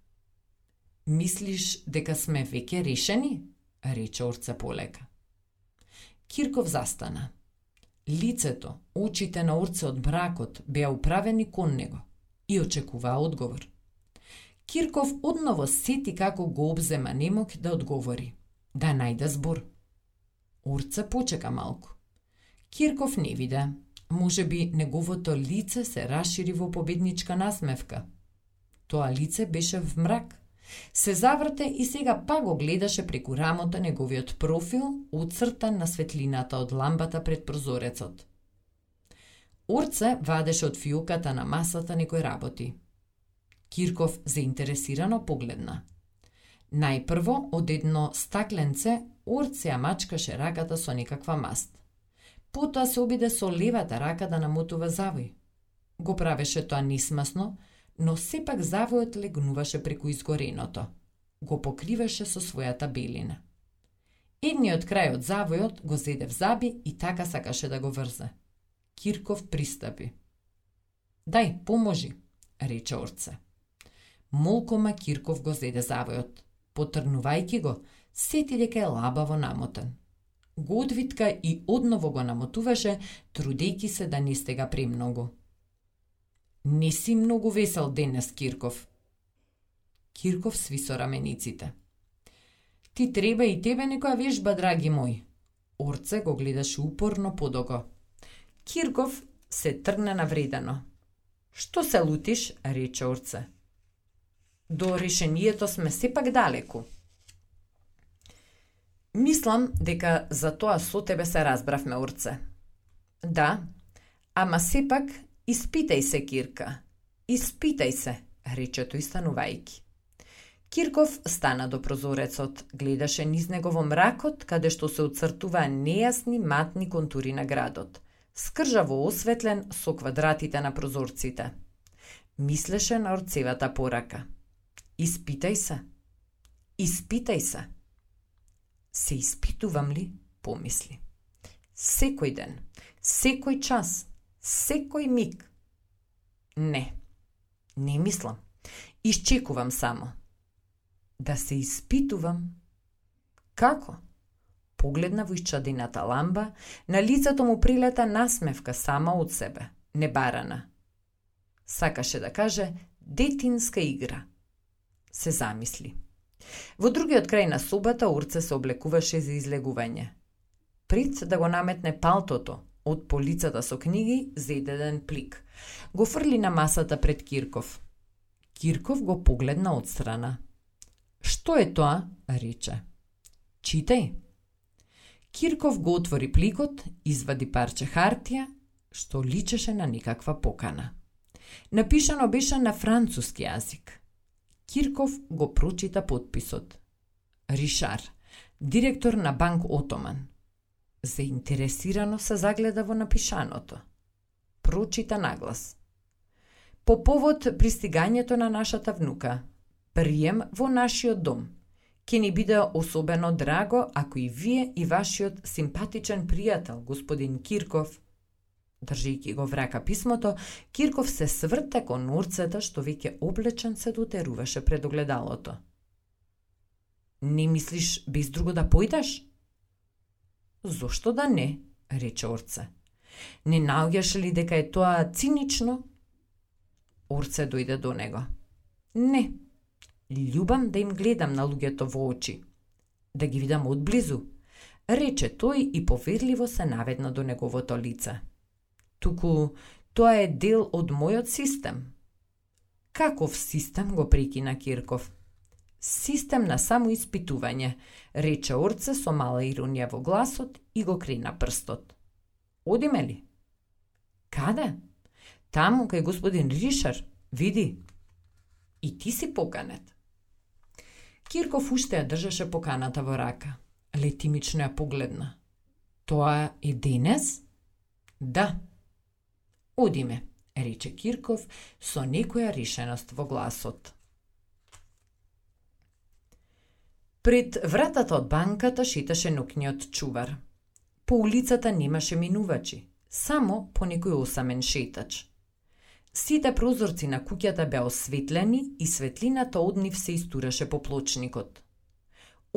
Мислиш дека сме веќе решени? Рече Орце полека. Кирков застана. Лицето, очите на Орце од мракот беа управени кон него и очекуваа одговор. Кирков одново сети како го обзема немок да одговори, да најде збор. Орце почека малку. Кирков не виде. Можеби неговото лице се расшири во победничка насмевка. Тоа лице беше в мрак. Се заврте и сега пак го гледаше преку рамото неговиот профил, оцртан на светлината од ламбата пред прозорецот. Орце вадеше од фиоката на масата некој работи. Кирков заинтересирано погледна. Најпрво од едно стакленце Орце ја мачкаше раката со некаква маст. Потоа се обиде со левата рака да намотува завој. Го правеше тоа нисмасно, но сепак завојот легнуваше преку изгореното. Го покриваше со својата белина. Едниот крај од завојот го зеде в заби и така сакаше да го врзе. Кирков пристапи. Дај, поможи, рече Орце. Молкома Кирков го зеде завојот. Потрнувајќи го, сети дека е лабаво намотен. Го одвитка и одново го намотуваше, трудејќи се да не стега премногу. Не си многу весел денес, Кирков. Кирков свисо рамениците. Ти треба и тебе некоја вежба, драги мој. Орце го гледаше упорно подого. Кирков се тргна навредено. Што се лутиш, рече Орце. До решението сме сепак далеку. Мислам дека за тоа со тебе се разбравме, Орце. Да, ама сепак испитај се, Кирка. Испитај се, рече тој станувајќи. Кирков стана до прозорецот, гледаше низ него во мракот, каде што се оцртуваа нејасни матни контури на градот, скржаво осветлен со квадратите на прозорците. Мислеше на Орцевата порака. Испитај се. Испитај се. Се испитувам ли? Помисли. Секој ден, секој час, секој миг. Не мислам. Исчекувам само. Да се испитувам? Како? Погледна во исчадената ламба, на лицето му прилета насмевка сама од себе, небарана. Сакаше да каже детинска игра. Се замисли. Во другиот крај на собата Орце се облекуваше за излегување. Пред да го наметне палтото, од полицата со книги зеде еден плик. Го фрли на масата пред Кирков. Кирков го погледна од страна. Што е тоа? Рече. Читај. Кирков го отвори пликот, извади парче хартија, што личеше на некаква покана. Напишано беше на француски јазик. Кирков го прочита подписот. Ришар, директор на Банк Отоман. Заинтересирано се загледа во напишаното. Прочита наглас. По повод пристигањето на нашата внука, прием во нашиот дом. Ке ни биде особено драго ако и вие и вашиот симпатичен пријател, господин Кирков. Држејќи го в рака писмото, Кирков се сврте кон Орцета, што веќе облечен се дотеруваше пред огледалото. Не мислиш без друго да појдеш? Зошто да не, рече Орце. Не наоѓаш ли дека е тоа цинично? Орце дојде до него. Не, љубам да им гледам на луѓето во очи. Да ги видам одблизу, рече тој и поверливо се наведна до неговото лице. Туку, тоа е дел од мојот систем. Каков систем, го прекина Кирков? Систем на самоиспитување, рече Орце со мала иронија во гласот и го крена прстот. Одиме ли? Каде? Таму кај господин Ришар, види. И ти си поканет. Кирков уште ја држеше поканата во рака. Летимично ја погледна. Тоа е денес? Да. Одиме, рече Кирков со некоја решеност во гласот. Пред вратата од банката шеташе ноќниот чувар. По улицата немаше минувачи, само по некој осамен шетач. Сите прозорци на куќата беа осветлени и светлината од нив се истураше по плочникот.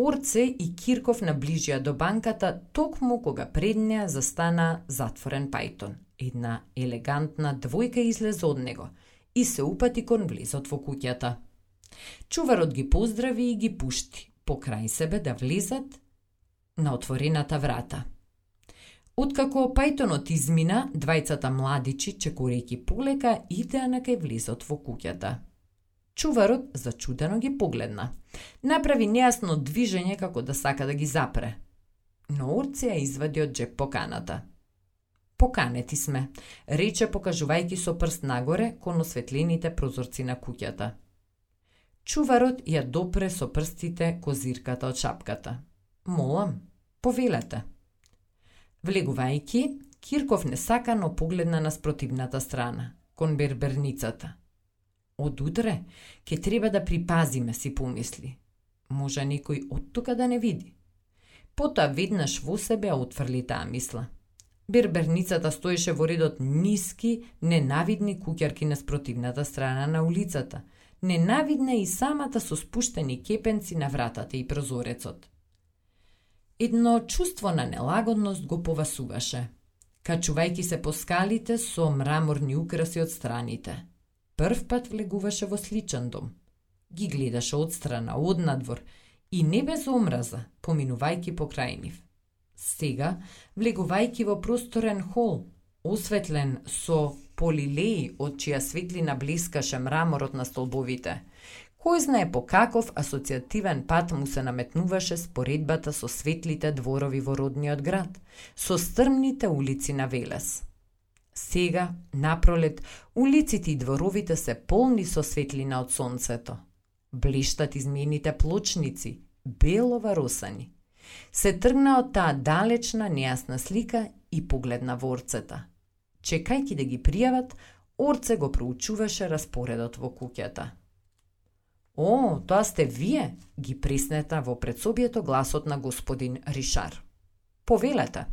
Орце и Кирков наближија до банката токму кога пред неа застана затворен Пајтон. Една елегантна двојка излезе од него и се упати кон влезот во куќата. Чуварот ги поздрави и ги пушти покрај себе да влезат на отворената врата. Откако Пајтонот измина, двајцата младичи, чекорејќи полека, идеа на кај влезот во куќата. Чуварот зачудено ги погледна. Направи нејасно движење како да сака да ги запре. Но Орце ја извади од джеп поканата. Поканети сме, рече покажувајќи со прст нагоре кон осветлените прозорци на куќата. Чуварот ја допре со прстите козирката од шапката. Молам, повелете. Влегувајќи, Кирков несакано погледна на спротивната страна, кон берберницата. Од утре, ке треба да припазиме, си помисли. Може некој од тука да не види. Потоа веднаш во себе ја отфрли таа мисла. Берберницата стоеше во редот ниски, ненавидни куќарки на спротивната страна на улицата. Ненавидна и самата со спуштени кепенци на вратата и прозорецот. Едно чувство на нелагодност го повасуваше, качувајќи се по скалите со мраморни украси од страните. Прв пат влегуваше во сличен дом. Ги гледаше одстрана, однадвор и не без омраза, поминувајќи покрај нив. Сега, влегувајќи во просторен хол, осветлен со полилеи од чија светлина блескаше мраморот на столбовите, кој знае по каков асоцијативен пат му се наметнуваше споредбата со светлите дворови во родниот град, со стрмните улици на Велес. Сега, напролет, улиците и дворовите се полни со светлина од сонцето. Блиштат измените плочници, бело варосани. Се тргна од таа далечна, нејасна слика и погледна во Орцета. Чекајќи да ги пријават, Орце го проучуваше распоредот во куќата. О, тоа сте вие, ги преснета во предсобието гласот на господин Ришар. Повелете.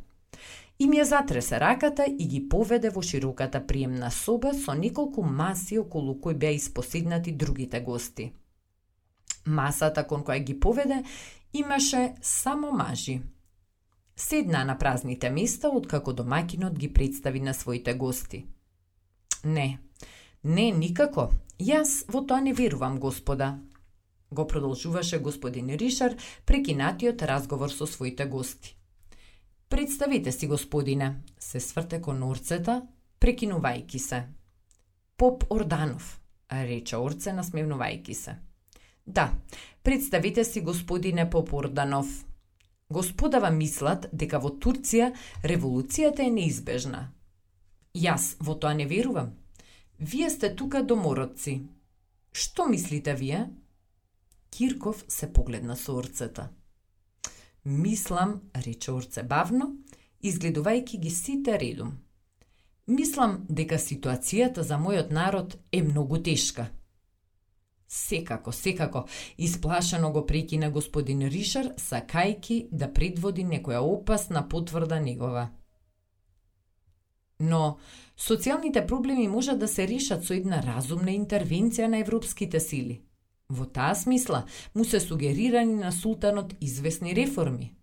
Им ја затресе раката и ги поведе во широката приемна соба со неколку маси околу кои беа испоседнати другите гости. Масата кон која ги поведе имаше само мажи. Седнаа на празните места откако домаќинот ги представи на своите гости. Не, никако. Јас во тоа не верувам, господа, го продолжуваше господин Ришар прекинатиот разговор со своите гости. Представете си, господине, се сврте кон Орцета, прекинувајќи се. Поп Орданов, рече Орце насмевнувајќи се. Да, представете си, господине Поп Орданов. Господава мислат дека во Турција револуцијата е неизбежна. Јас во тоа не верувам. Вие сте тука домородци. Што мислите вие? Кирков се погледна со Орцета. Мислам, рече Орце бавно, изгледувајќи ги сите редом. Мислам дека ситуацијата за мојот народ е многу тешка. Секако, исплашено го прекина господин Ришар, сакајки да предводи некоја опасна потврда негова. Но социјалните проблеми можат да се решат со една разумна интервенција на европските сили. Во таа смисла му се сугерирани на султанот известни реформи.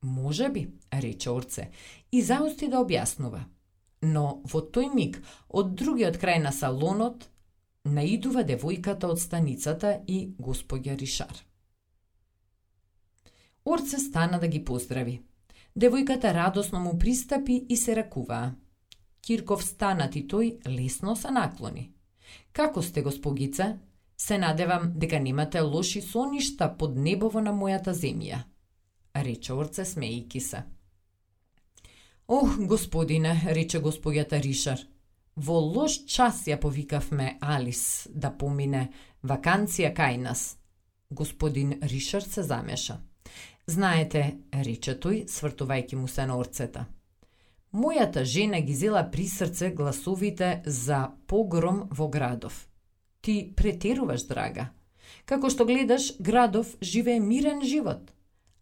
Може би, рече Орце, и заости да објаснува. Но во тој миг, од другиот крај на салонот, наидува девојката од станицата и господја Ришар. Орце стана да ги поздрави. Девојката радосно му пристапи и се ракуваа. Кирков станат и тој лесно се наклони. Како сте, госпогице? Се надевам дека немате лоши соништа под небово на мојата земја, рече Орце смејки се. Ох, господине, рече господјата Ришар, во лош час ја повикавме Алис да помине ваканција кај нас. Господин Ришар се замеша. Знаете, рече тој, свртувајќи му се на Орцета. Мојата жена ги зела при срце гласовите за погром во Градов. Ти претеруваш, драга. Како што гледаш, Градов живее мирен живот.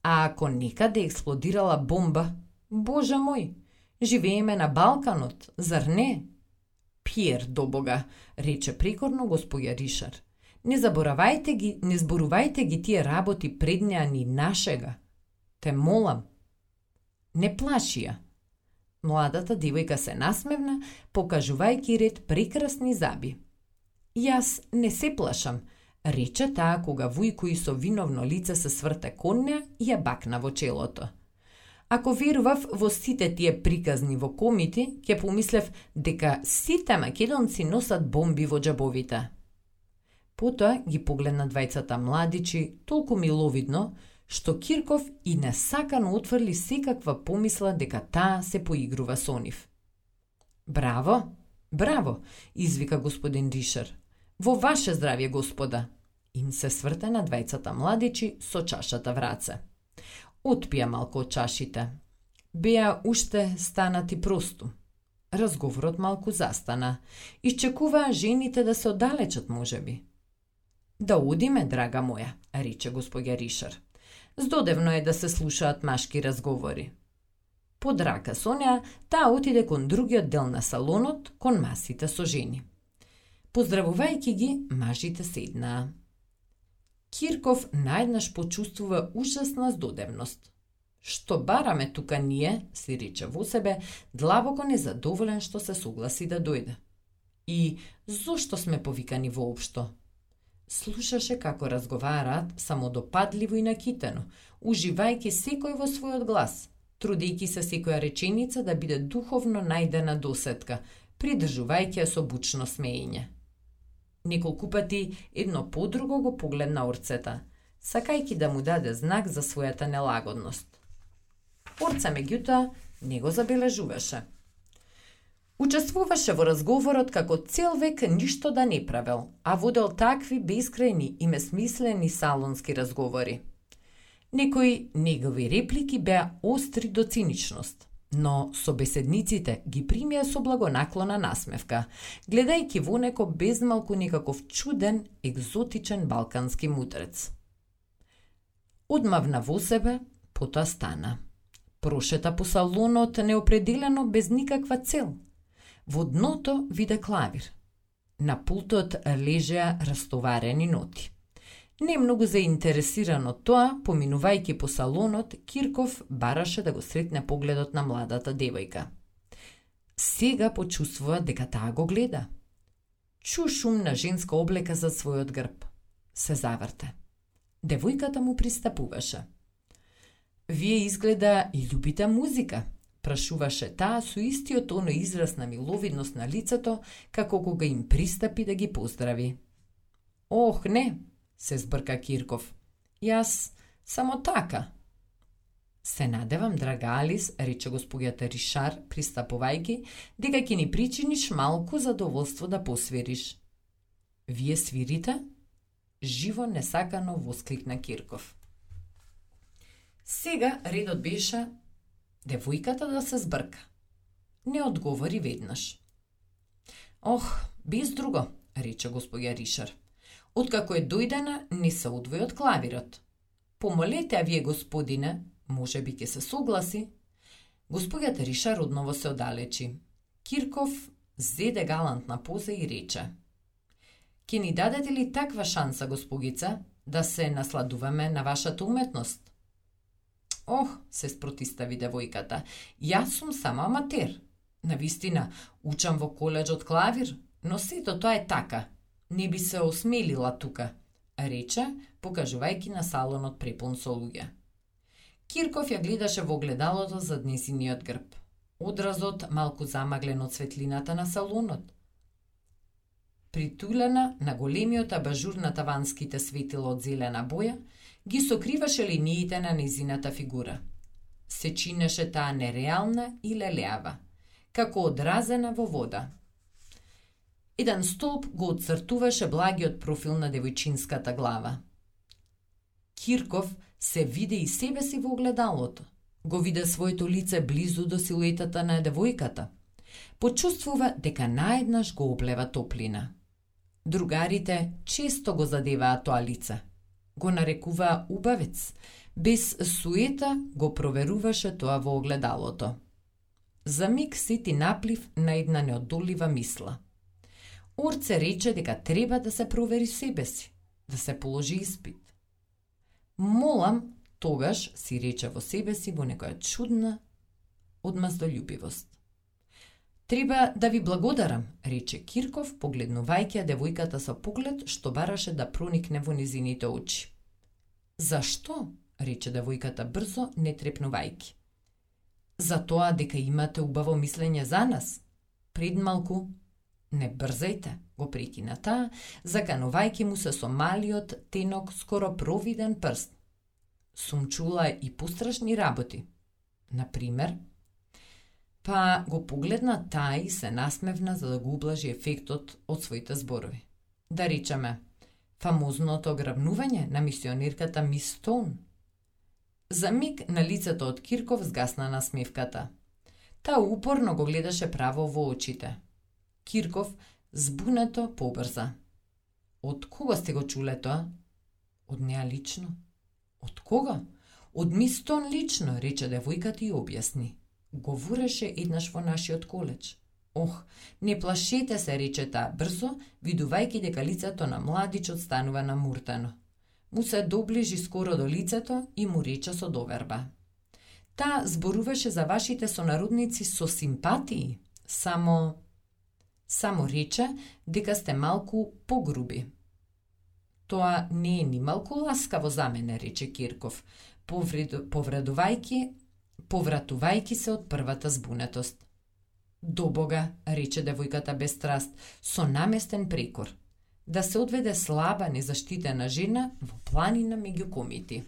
А ако некаде експлодирала бомба, Боже мој, живееме на Балканот, зар не? Пиер до Бога, рече прекорно господја Ришар. Не зборувајте ги тие работи пред неа ни нашега. Те молам. Не плаши ја. Младата девојка се насмевна, покажувајќи ред прекрасни заби. Јас не се плашам, рече таа кога Вујко со виновно лице се сврте кон неа и ја бакна во челото. Ако верував во сите тие приказни во комити, ќе помислев дека сите македонци носат бомби во џабовите. Потоа ги погледна двајцата младичи толку миловидно, што Кирков и несакано отфрли секаква помисла дека таа се поигрува со нив. Браво, браво, извика господин Ришар. Во ваше здравје, господа. Им се сврте на двајцата младичи со чашата в раце. Отпија малку од чашите. Беа уште станати просту. Разговорот малку застана. Исчекуваа жените да се оддалечат, можеби. Да одиме, драга моја, рече господја Ришар. Здодевно е да се слушаат машки разговори. Под рака со неа, таа отиде кон другиот дел на салонот, кон масите со жени. Поздравувајќи ги, мажите седнаа. Кирков наеднаш почувствува ужасна здодевност. Што бараме тука ние, си рече во себе, длабоко незадоволен што се согласи да дојде. И зошто сме повикани воопшто? Слушаше како разговараат самодопадливо и накитено, уживајќи секој во својот глас, трудејќи се секоја реченица да биде духовно најдена досетка, придржувајќи ја со бучно смеење. Неколку пати едно по друго го погледна Орцета, сакајќи да му даде знак за својата нелагодност. Орца меѓутоа не го забележуваше. Учествуваше во разговорот како цел век ништо да не правел, а водел такви бескрајни и месмислени салонски разговори. Некои негови реплики беа остри до циничност, но собеседниците ги примија со благонаклона насмевка, гледајќи во него безмалку некаков чуден, екзотичен балкански мудрец. Одмавна во себе, потоа стана. Прошета по салонот неопределено без никаква цел. Во дното виде клавир. На пултот лежеа растоварени ноти. Не многу заинтересиран од тоа, поминувајќи по салонот, Кирков бараше да го сретне погледот на младата девојка. Сега почувствува дека таа го гледа. Чу шум на женска облека за својот грб. Се заврте. Девојката му пристапуваше. Вие изгледа и љубите музика, прашуваше таа со истиот оној израз на миловидност на лицето, како кога им пристапи да ги поздрави. Ох, не, се збрка Кирков. Јас само така. Се надевам, драга Алис, рече господјата Ришар, пристапувајќи, дека ќе ни причиниш малку задоволство да посвириш. Вие свирите? Живо несакано воскликна Кирков. Сега редот беше девојката да се збрка. Не одговори веднаш. Ох, без друго, рече господја Ришар. Откако е дојдена, не се одвои од клавирот. Помолете, а вие, господине, може би ќе се согласи. Господјата Ришар одново се оддалечи. Кирков зеде галантна поза и рече. Ке ни дадете ли таква шанса, госпогица, да се насладуваме на вашата уметност? Ох, се спротистави девојката, јас сум само аматер. Навистина, учам во коледжот клавир, но сето тоа е така. Не би се осмелила тука, рече, покажувајќи на салонот препун со луѓе. Кирков ја гледаше во огледалото зад незиниот грб. Одразот малку замаглен од светлината на салонот. Притулена на големиот абажур на таванските светила од зелена боја, ги сокриваше линиите на незината фигура. Се чинеше таа нереална и лелеава, како одразена во вода. Еден столб го отцртуваше благиот профил на девојчинската глава. Кирков се виде и себе си во огледалото. Го виде своето лице близу до силуетата на девојката. Почувствува дека наеднаш го облева топлина. Другарите често го задеваа тоа лице. Го нарекуваа убавец. Без суета го проверуваше тоа во огледалото. За миг сети наплив на една неодолива мисла. Орце рече дека треба да се провери себе си, да се положи испит. Молам, тогаш си рече во себе си во некоја чудна одмаздолюбивост. Треба да ви благодарам, рече Кирков, погледнувајќи девојката со поглед што бараше да проникне во незините очи. Зашто? Рече девојката брзо, не трепнувајќи. Затоа дека имате убаво мислење за нас. Пред малку, не брзајте, го прекина таа, заканувајќи му се со малиот, тенок, скоро провиден прст. Сум чула и пострашни работи. Например, па го погледна таа и се насмевна за да го ублажи ефектот од своите зборови. Да речеме, фамозното ограбнување на мисионерката Мис Стоун. За миг на лицето од Кирков згасна насмевката. Таа упорно го гледаше право во очите. Кирков збунето побрза. Од кога сте го чуле тоа? Од неа лично. Од кога? Од Мис Стоун лично, рече девојката и објасни. Говореше еднаш во нашиот коледж. Ох, не плашете се, рече таа брзо, видувајќи дека лицето на младичот станува намуртено. Му се доближи скоро до лицето и му рече со доверба. Таа зборуваше за вашите сонародници со симпатии, само рече дека сте малку погруби. Тоа не е ни малку ласкаво за мене, рече Кирков, повратувајќи се од првата збунетост. До Бога, рече девојката без страст, со наместен прекор. Да се одведе слаба, незаштитена жена во планина меѓу комити.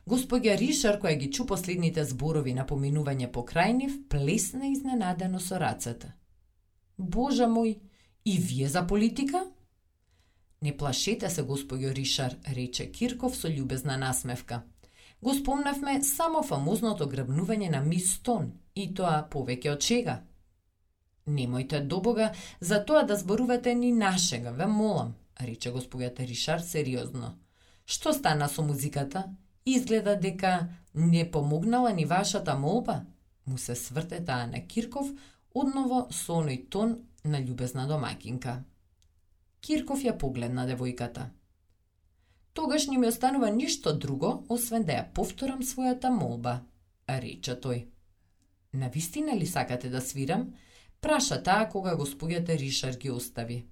Господја Ришар, која ги чу последните зборови на поминување покрај нив, плесна изненадено со рацете. Божа мој, и вие за политика? Не плашете се, господјо Ришар, рече Кирков со љубезна насмевка. Го спомнавме само фамозното грабнување на Мис Стоун, и тоа повеќе од чега. Немојте до Бога за тоа да зборувате ни нашега, ве молам, рече господјата Ришар сериозно. Што стана со музиката? Изгледа дека не помогнала ни вашата молба? Му се сврте таа на Кирков, одново со оној тон на љубезна домакинка. Кирков ја погледна девојката. Тогаш не ми останува ништо друго, освен да ја повторам својата молба, рече тој. Навистина ли сакате да свирам? Праша таа кога господјата Ришар ги остави.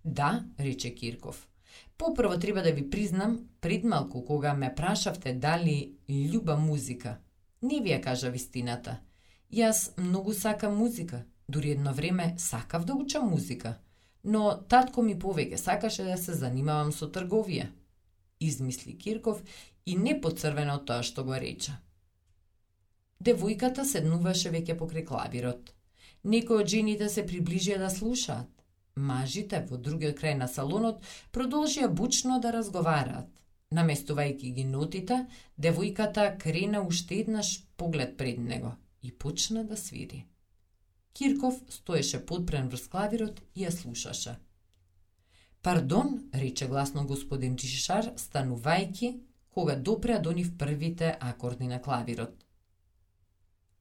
Да, рече Кирков. Попрво треба да ви признам, пред малку кога ме прашавте дали љуба музика, не ви ја кажа вистината. Јас многу сакам музика, дури едно време сакав да учам музика, но татко ми повеќе сакаше да се занимавам со трговија. Измисли Кирков и не поцрвена од тоа што го рече. Девојката седнуваше веќе покрај клавирот. Некои од жените се приближија да слушаат. Мажите во другиот крај на салонот продолжија бучно да разговараат. Наместувајќи ги нотите, девојката крена уште еднаш поглед пред него и почна да свири. Кирков стоеше подпрен врз клавирот и ја слушаше. Пардон, рече гласно господин Ришар, станувајќи кога допреа до нив првите акорди на клавирот.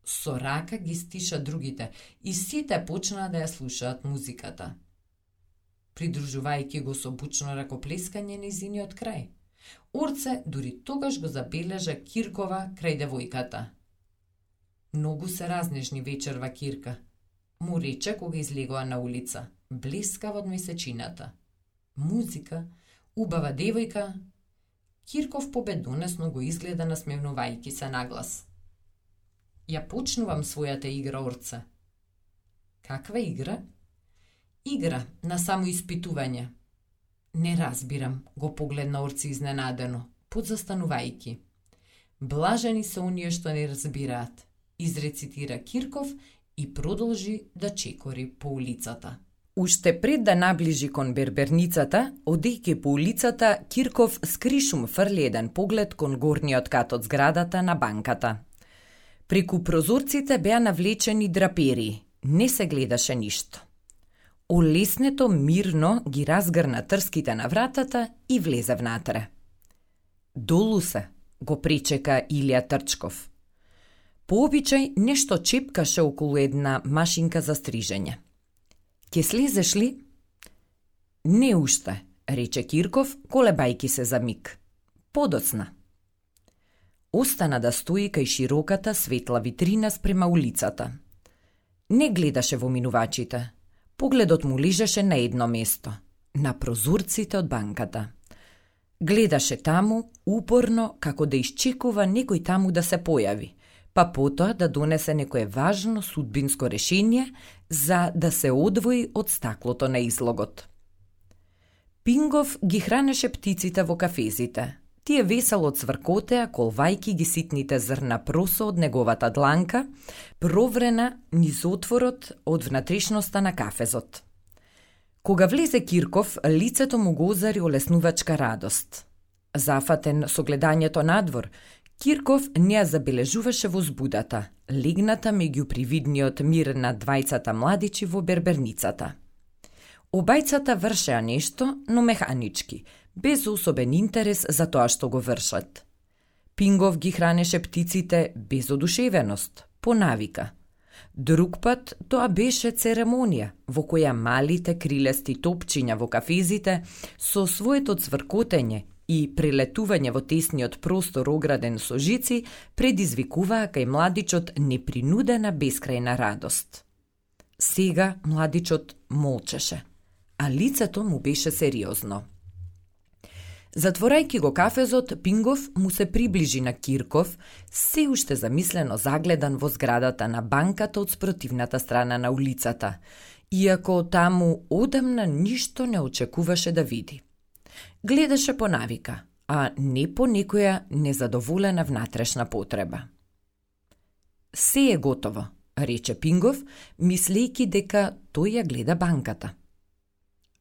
Со рака ги стиша другите и сите почнаа да ја слушаат музиката. Придружувајќи го со бучно ракоплескање низиниот крај. Орце дури тогаш го забележа Киркова крај девојката. Многу се разнежни вечерва, Кирка, му рече кога излегоа на улица, блескава од месечината. Музика, убава девојка. Кирков победонесно го изгледа насмевнувајќи се наглас. Ја почнувам својата игра, Орце. Каква игра? Игра на самоиспитување. Не разбирам, го погледна Орце изненадено, подзастанувајќи. Блажени се оние што не разбираат, изрецитира Кирков и продолжи да чекори по улицата. Уште пред да наближи кон берберницата, одејќи по улицата, Кирков скришум фрли еден поглед кон горниот кат од зградата на банката. Преку прозорците беа навлечени драпери, не се гледаше ништо. Олеснето мирно ги разгрна трските на вратата и влезе внатре. Долу се, го пречека Илија Трчков. По обичај нешто чепкаше околу една машинка за стрижење. Ке слезеш ли? Не уште, рече Кирков, колебајки се за миг. Подоцна. Остана да стои кај широката светла витрина спрема улицата. Не гледаше во минувачите. Погледот му лежеше на едно место, на прозорците од банката. Гледаше таму, упорно, како да исчекува некој таму да се појави, па потоа да донесе некое важно судбинско решение за да се одвои од стаклото на излогот. Пингов ги хранеше птиците во кафезите. Тие весело цвркотеа, колвајки ги ситните зрна просо од неговата дланка, проврена низ отворот од внатрешноста на кафезот. Кога влезе Кирков, лицето му го озари олеснувачка радост. Зафатен со гледањето надвор, Кирков не ја забележуваше возбудата, легната меѓу привидниот мир на двајцата младичи во берберницата. Обајцата вршеа нешто, но механички, без особен интерес за тоа што го вршат. Пингов ги хранеше птиците без одушевеност, по навика. Друг пат тоа беше церемонија, во која малите крилести топчиња во кафезите со своето цвркотење и прелетување во тесниот простор ограден со жици предизвикуваа кај младичот непринудена бескрајна радост. Сега младичот молчеше, а лицето му беше сериозно. Затворајќи го кафезот, Пингов му се приближи на Кирков, се уште замислено загледан во зградата на банката од спротивната страна на улицата, иако таму одамна ништо не очекуваше да види. Гледаше по навика, а не по некоја незадоволена внатрешна потреба. Се е готово, рече Пингов, мислејќи дека тој ја гледа банката.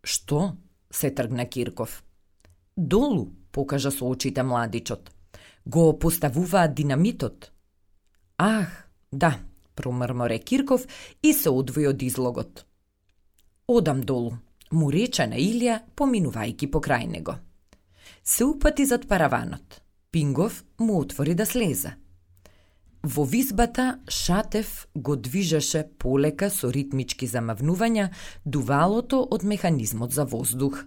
Што? Се тргна Кирков. Долу, покажа со очите младичот. Го поставуваат динамитот. Ах, да, промрморе Кирков и се одвои од излогот. Одам долу, му рече на Илија, поминувајќи покрај него. Се упати зад параванот. Пингов му отвори да слезе. Во визбата Шатев го движеше полека со ритмички замавнувања дувалото од механизмот за воздух.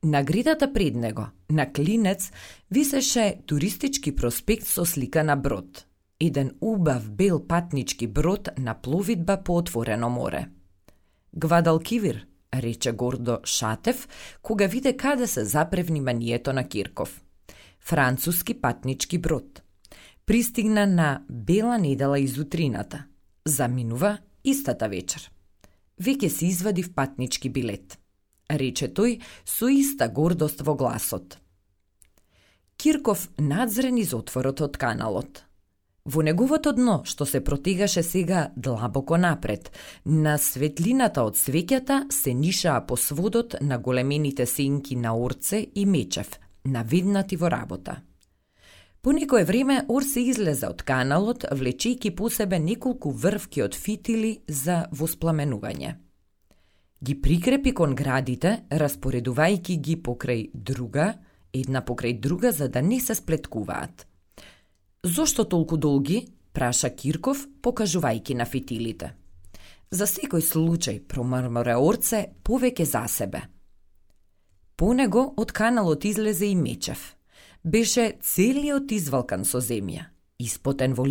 На гредата пред него, на клинец, висеше туристички проспект со слика на брод. Еден убав бел патнички брод на пловидба по отворено море. Гвадалкивир, рече гордо Шатев, кога виде каде се запре вниманието на Кирков. Француски патнички брод. Пристигна на бела недела из утрината. Заминува истата вечер. Веќе си извадив патнички билет, рече тој со иста гордост во гласот. Кирков надзре низ отворот од каналот. Во неговото дно, што се протегаше сега длабоко напред, на светлината од свеќата се нишаа по сводот на големените сенки на Орце и Мечев, наведнати во работа. По некое време Орце излезе од каналот, влечејќи по себе неколку врвки од фитили за воспламенување. Ги прикрепи кон градите, распоредувајќи ги покрај друга, една покрај друга, за да не се сплеткуваат. Зошто толку долги? Праша Кирков, покажувајќи на фитилите. За секој случај, промрморе Орце, повеќе за себе. По него од каналот излезе и Мечев. Беше целиот извалкан со земја. Испотен во